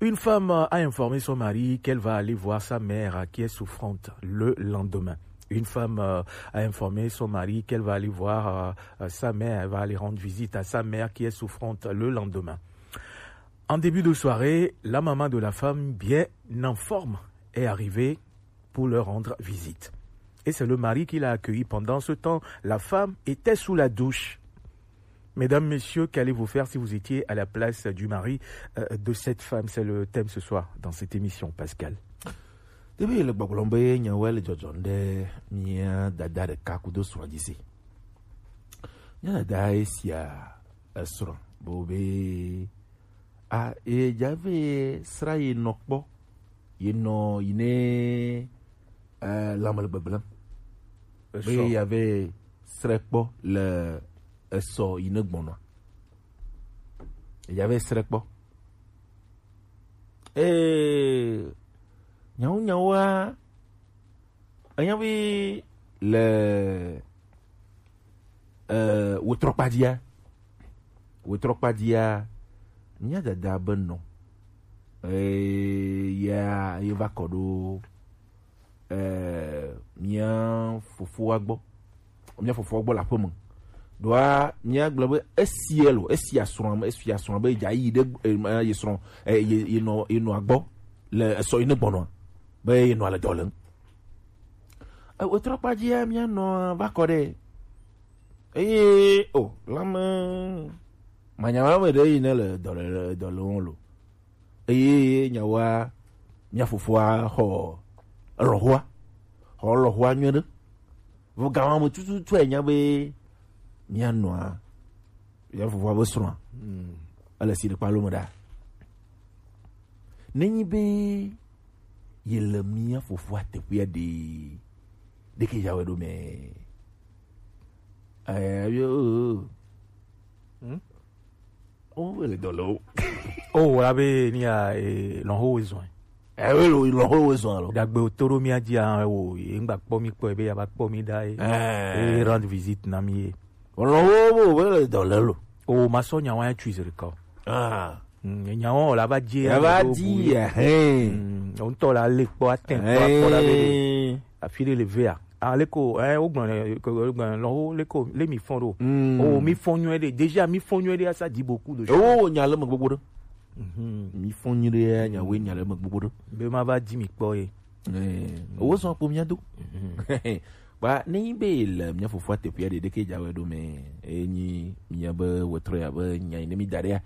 Une femme, euh, a informé son mari qu'elle va aller voir sa mère, euh, qui est souffrante le lendemain. Une femme, euh, a informé son mari qu'elle va aller voir, euh, euh, sa mère, elle va aller rendre visite à sa mère qui est souffrante le lendemain. En début de soirée, la maman de la femme, bien en forme, est arrivée pour leur rendre visite. Et c'est le mari qui l'a accueilli. Pendant ce temps, la femme était sous la douche. Mesdames, messieurs, qu'allez-vous faire si vous étiez à la place du mari, euh, de cette femme? C'est le thème ce soir dans cette émission, Pascal. Ɖevi le gbɔgblɔm be nyawoe le dzɔdzɔm ɖe mía dada ɖeka kudo srɔ̃a dzi si. Mía dada esia esrɔ̃ bo be a, ye dza ve sra ye nɔ kpɔ, ye nɔ yi ne, eh, lãme le gbegblẽm. Be esɔ. Ye ya ve srɛ kpɔ le esɔ yi ne gbɔnɔa. Ye ya ve srɛ kpɔ. Ee, nyawo nyawoa, enya be le, eh, wetrɔkpadzia, wetrɔkpadzia, mía dada be nɔ, eh, ya, ye va kɔ ɖo, eh, mía fofoa gbɔ, mía fofoa gbɔ le aƒeme. Ɖoa, mía gblɔ be esi elo, esi asrɔ̃a me, esi asrɔ̃a be dza yi ɖe, eh, ye srɔ̃, eh, ye, ye nɔ, ye nɔa gbɔ le esɔ yi ne gbɔnɔa, be ye nɔa le dɔ lém. E, wetrɔkpadzia mía nɔ va kɔ ɖe. Eye, o, lãme, manyama me ɖe yi ne le dɔ le, dɔ le ŋu lo. Eye nyawoa, mía fofoa xɔ lɔ̃xoa, xɔ lɔ̃xoa nyuie ɖe. Vɔ gawa me tututu enya be mía nɔa, mía fofoa be srɔ̃a, mm, ele si ɖekpa lo me ɖa. Nenyi be ye le mía fofoa teƒea ɖe, ɖeke ya wɛ ɖo mɛ. Eh, yo. Hmm? O, ele dɔ le o. O, wɔ la be ni ya, eh, lɔn ho zɔn. Eh, we lo, lɔn ho zɔn lo. Dagbe o to ɖo mía dzi a, o, ye ŋgba kpɔ mi kpɔ, ebe ya va kpɔ mi ɖa, eh. Eh. E rendre visite na mi ye. Lɔn ho bo, we le dɔ le lo. O, ma sɔ nya wa ya tui zere kɔ. Ah. Mm, nya wa la va dzi. Ya va dzi, eh. Mm, o ŋutɔ la le kpɔ, atɛ kpɔ, akpɔ la be. Eh. Afi ɖe le vea. Aleko, eh, wogblɔ nɛ, ke, wogblɔ nɛ, lɔn ho, leko, le mi fɔn ɖo. Mm. O, mi fɔn nyuie ɖe. Déjà, mi fɔn nyuie ɖe, asa dit beaucoup de choses. O, nya le me gbogbo ɖe. Mhm. Mi fɔn nyuie ɖe, nya we nya le me gbogbo ɖe. Be ma va di mi kpɔ ye. Eh, o sɔn kpo mia do. Mhm. Ba, ne yi be le mia fofoa teƒea ɖe, ɖeke dza wɛ ɖo mɛ. E nyi mia be wetrɔ ya be nya yi ne mi da ɖea.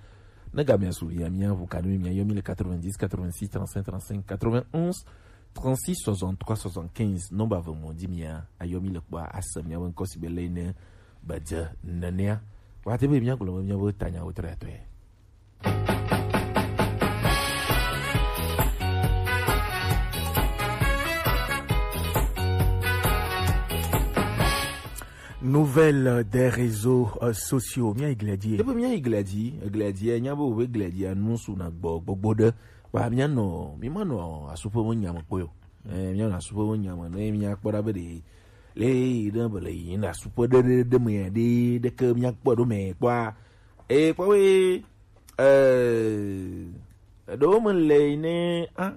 Ne ga mia su via, mia ʋu ka ɖe mi, mia yɔ mi le quatre-vingt-dix, quatre-vingt-six, trente-cinq, trente-cinq, quatre-vingt-onze, trente-six soixante-trois soixante-quinze, nɔmba ve mo dzi mia, ayɔ mi le kpɔa, ase mia be ŋkɔ si be le ne be dze nenea. Wa te be mia gblɔ be mia be tanya wo tre atɔe. Nouvelle des réseaux, euh, sociaux. Mia yi glia dzi. Ebe mia yi glia dzi, glia dzi, nya be wo be glia dzi, anu su na gbɔ, gbogbo ɖe. Wa mia nɔ, mi ma nɔ asuƒe me nya me kpɔe o. Eh, mia nɔ asuƒe me nya me, ne mia kpɔ ɖa be ɖe, le yi ɖe be le yi na asuƒe ɖe, ɖe, ɖe me ɖe, ɖe ke mia kpɔ ɖo me kpɔa. Eh, kpɔ we, eh, ɖewo me le yi ne, ah,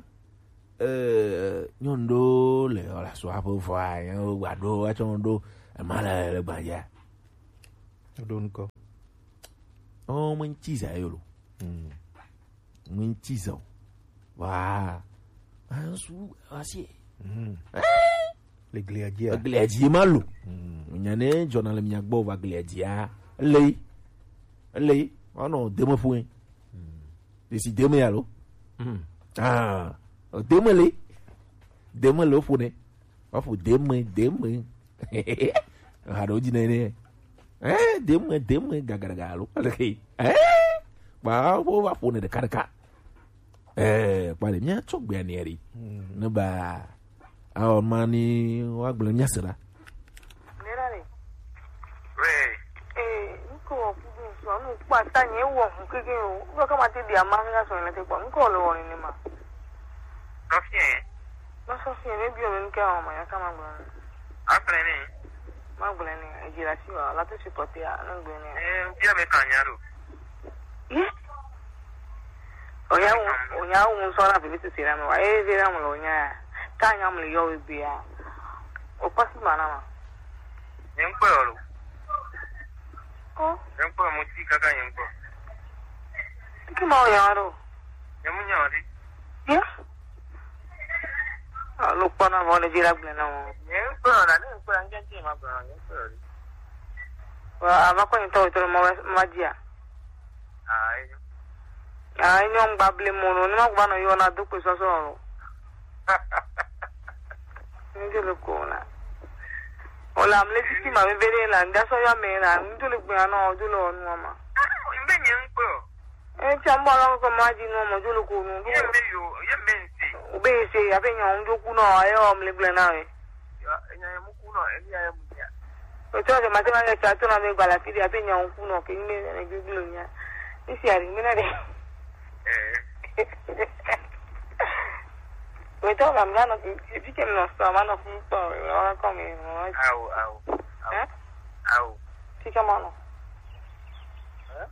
eh, nyɔnu ɖewo le, wole asua ƒe vɔa, yewo gba ɖo, atsɔ nu ɖo, ema le, le gbadzia. Ɖo ŋkɔ. Oh, me ŋtsi zã ye lo. Mm. Ŋuti zɔ. Wa. Asu asi. Mm. Le glia dzia? Glia dzi ma lo. Mm. Nya ne dzɔna le mia gbɔ va glia dzia. Le. Le. Ono deme ƒoe. Mm. Esi deme ya lo. Mm. Ah. Deme le. Deme le ƒo ne. Wa ƒo deme, deme. Ha ɖewo dzi nɛ nɛ. Eh, deme, deme, gagaraga alo. Eh, ba, wo va ƒo ne ɖeka ɖeka. Eh, kpa ɖe, mía tsɔ gbea nɛ ɖi. Hmm. Ne ba, awɔ ma ni wa gblẽ mía se ɖa. Nera ni. We. Eh, nko wa kudu so, nu kpa ta nye wo hu keke o. Wo ka ma te di ama nga so ne te kwa. Nko le wo ni ma. Sɔfiɛ. Ma Sɔfiɛ, ne bi o ne ke o ma ya ka ma gblɔ. Aflɛ ni. Ma gblɔ ni, e dzi la si wa, la to supporter a, ne gblɔ ni. Eh, bia me kan nya do. Ye. Onya wo, onya wo so na bi ti sira me wa. Eh, sira me lo nya. Ka nya me yo we bia. O pa si ma na ma. Nye ŋkpɔe o lo. Ko. Nye ŋkpɔe mo ti kaka nye ŋkpɔ. Ki ma o ya do. Nye mu nya o di. Ye. Alo kpɔna vɔ ne vi la gblẽ na wo. Nye ŋkpɔe o la, ne ŋkpɔe la, ŋkɛ ŋkɛ ma gblẽ na nye ŋkpɔe o di. Wa, a va kɔ nyitɔ wetɔ ma, ma dzia. Ayi. Ayi, nyɔ ŋgba ble mo no, ne ma gba nɔ yɔ na do kpe sɔsɔ lo. Ŋdzo le ko na. O la mle titi ma be be la, ŋda sɔ yɔ me la, ŋdzo le gbe anɔ, ŋdzo le onu ma. Mbe nye ŋkpɔe o. Eh, tia mbo ala ko ma di no mo jolo ko no. Ye mbe yo, ye mbe nti. Ube se ya pe nya unjo ku no, ayo mle gble na we. Ya, enya ye mu ku no, enya ye mu nya. O to de mate ma ya cha to na me gbala ti ya pe nya ku no ke me ne gbiglo nya. Isi ari me na de. Eh. We to ga mla no, ti ke no so ma no ku to, wa ko me no. Au, au. Au. Eh? Au. Ti ke ma no. Eh?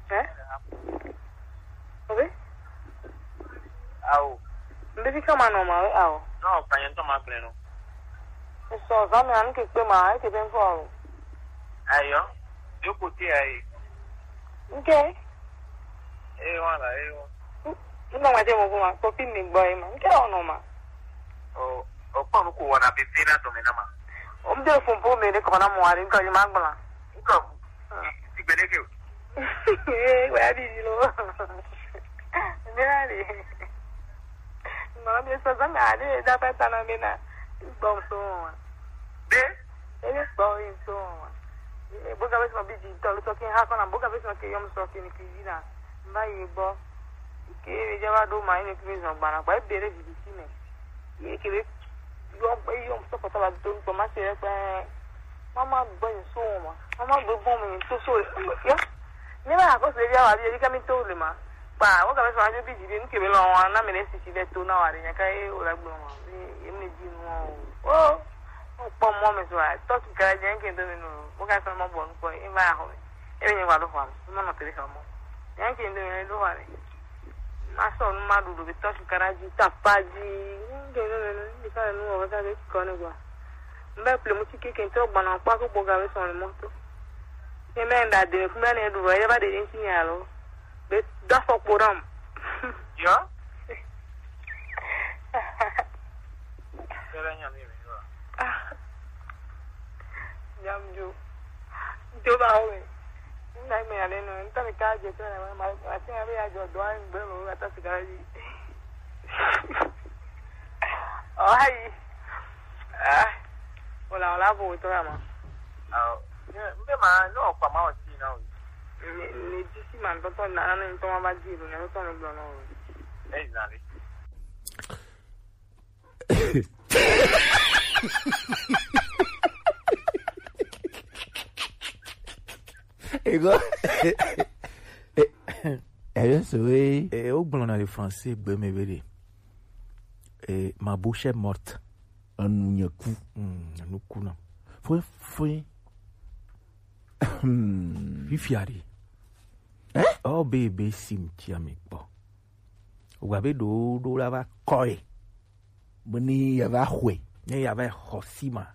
Eh? Obe? Ao. Mbe bi kama no ma we ao. No, pa yen to ma gble no. So za me an ke pe ma, e ke ben fo ao. Ayo. Yo ko ti ai. Nke? E wala, e wa. Ni ma ma je mo ko ma, ko pin ni boy ma. Nke o no ma. O, o pa no ko wana bi bi na to me na ma. O mde fun po me de ko na mo ari nka ma gbla. Nka. Ti gbede ke o. Ee, waya bibi lo. Mina de. Mama bi so zanga de da pa ta na mina. Gbɔ so wa. De? E gbɔ so wa. E bo ga be so bi di to lo so ke ha ko na bo ga be so ke yom so ke ni ki na. Mba ye gbɔ. Ke be ja ba do ma ni ki zo gba na. Ba be re di ti me. Ye ke be yɔ, yɔ sɔkɔtɔ la do ŋkɔ ma se ɖe kpɛ. Mama gbɔ yin so ma. Mama gbɔ gbɔ mi to so. Ya. Ne ba ko se bia wa bi ka mi to le ma. Ba wo ka be so ajo bi di ni ke be lo wa na me ne si ti be to na wa de nya ka e o la gbɔ ma. E mi di no. O. O po mo me so a. To ki ka je ke do mi no. Wo ka so mo bo nko e ma ho. E ni wa do ho. Mo no te le ho mo. Nya ke do mi do wa ni. Masɔ nu maɖuɖu be tɔ shikara dzi, tapa dzi. Nge nu nenu, ndi ka nu wɔ ka be kɔ ne gba. Mbe ple mu ti keke ntɔ gbana kpa ko boga be sɔn le mɔto. Ne mɛ nda de me kuma ne ɖu ɖɔ, ye ba de ntsi nya lo. Be do afɔkpo ɖam. Yo. Kele nya mi me yo. Ah. Nyam jo. Jo ba o me. Nda me ale no, nta me ka je to na ma, ma ti na be ya jo do an gbe mo ka ta sigara ji. Oh, ayi. Ah. Ola, ola bo to ya ma. Ao. Ne, mbe ma no pa ma o ti na o. Ne, ne ti si ma to to na, na ne to ma ba ji lo, ne to no gbo no. Exactly. Ego. Eyo so we. E o gblɔ na le français gbe me be de. E ma bouche est morte. Enu nye ku. Mm, enu ku na. Foi foi. Fifia de. Eh? O be be sim ti ami kpɔ. Wa be do do la va kɔe. Be ni ya va xɔe. Ne ya va xɔ sima.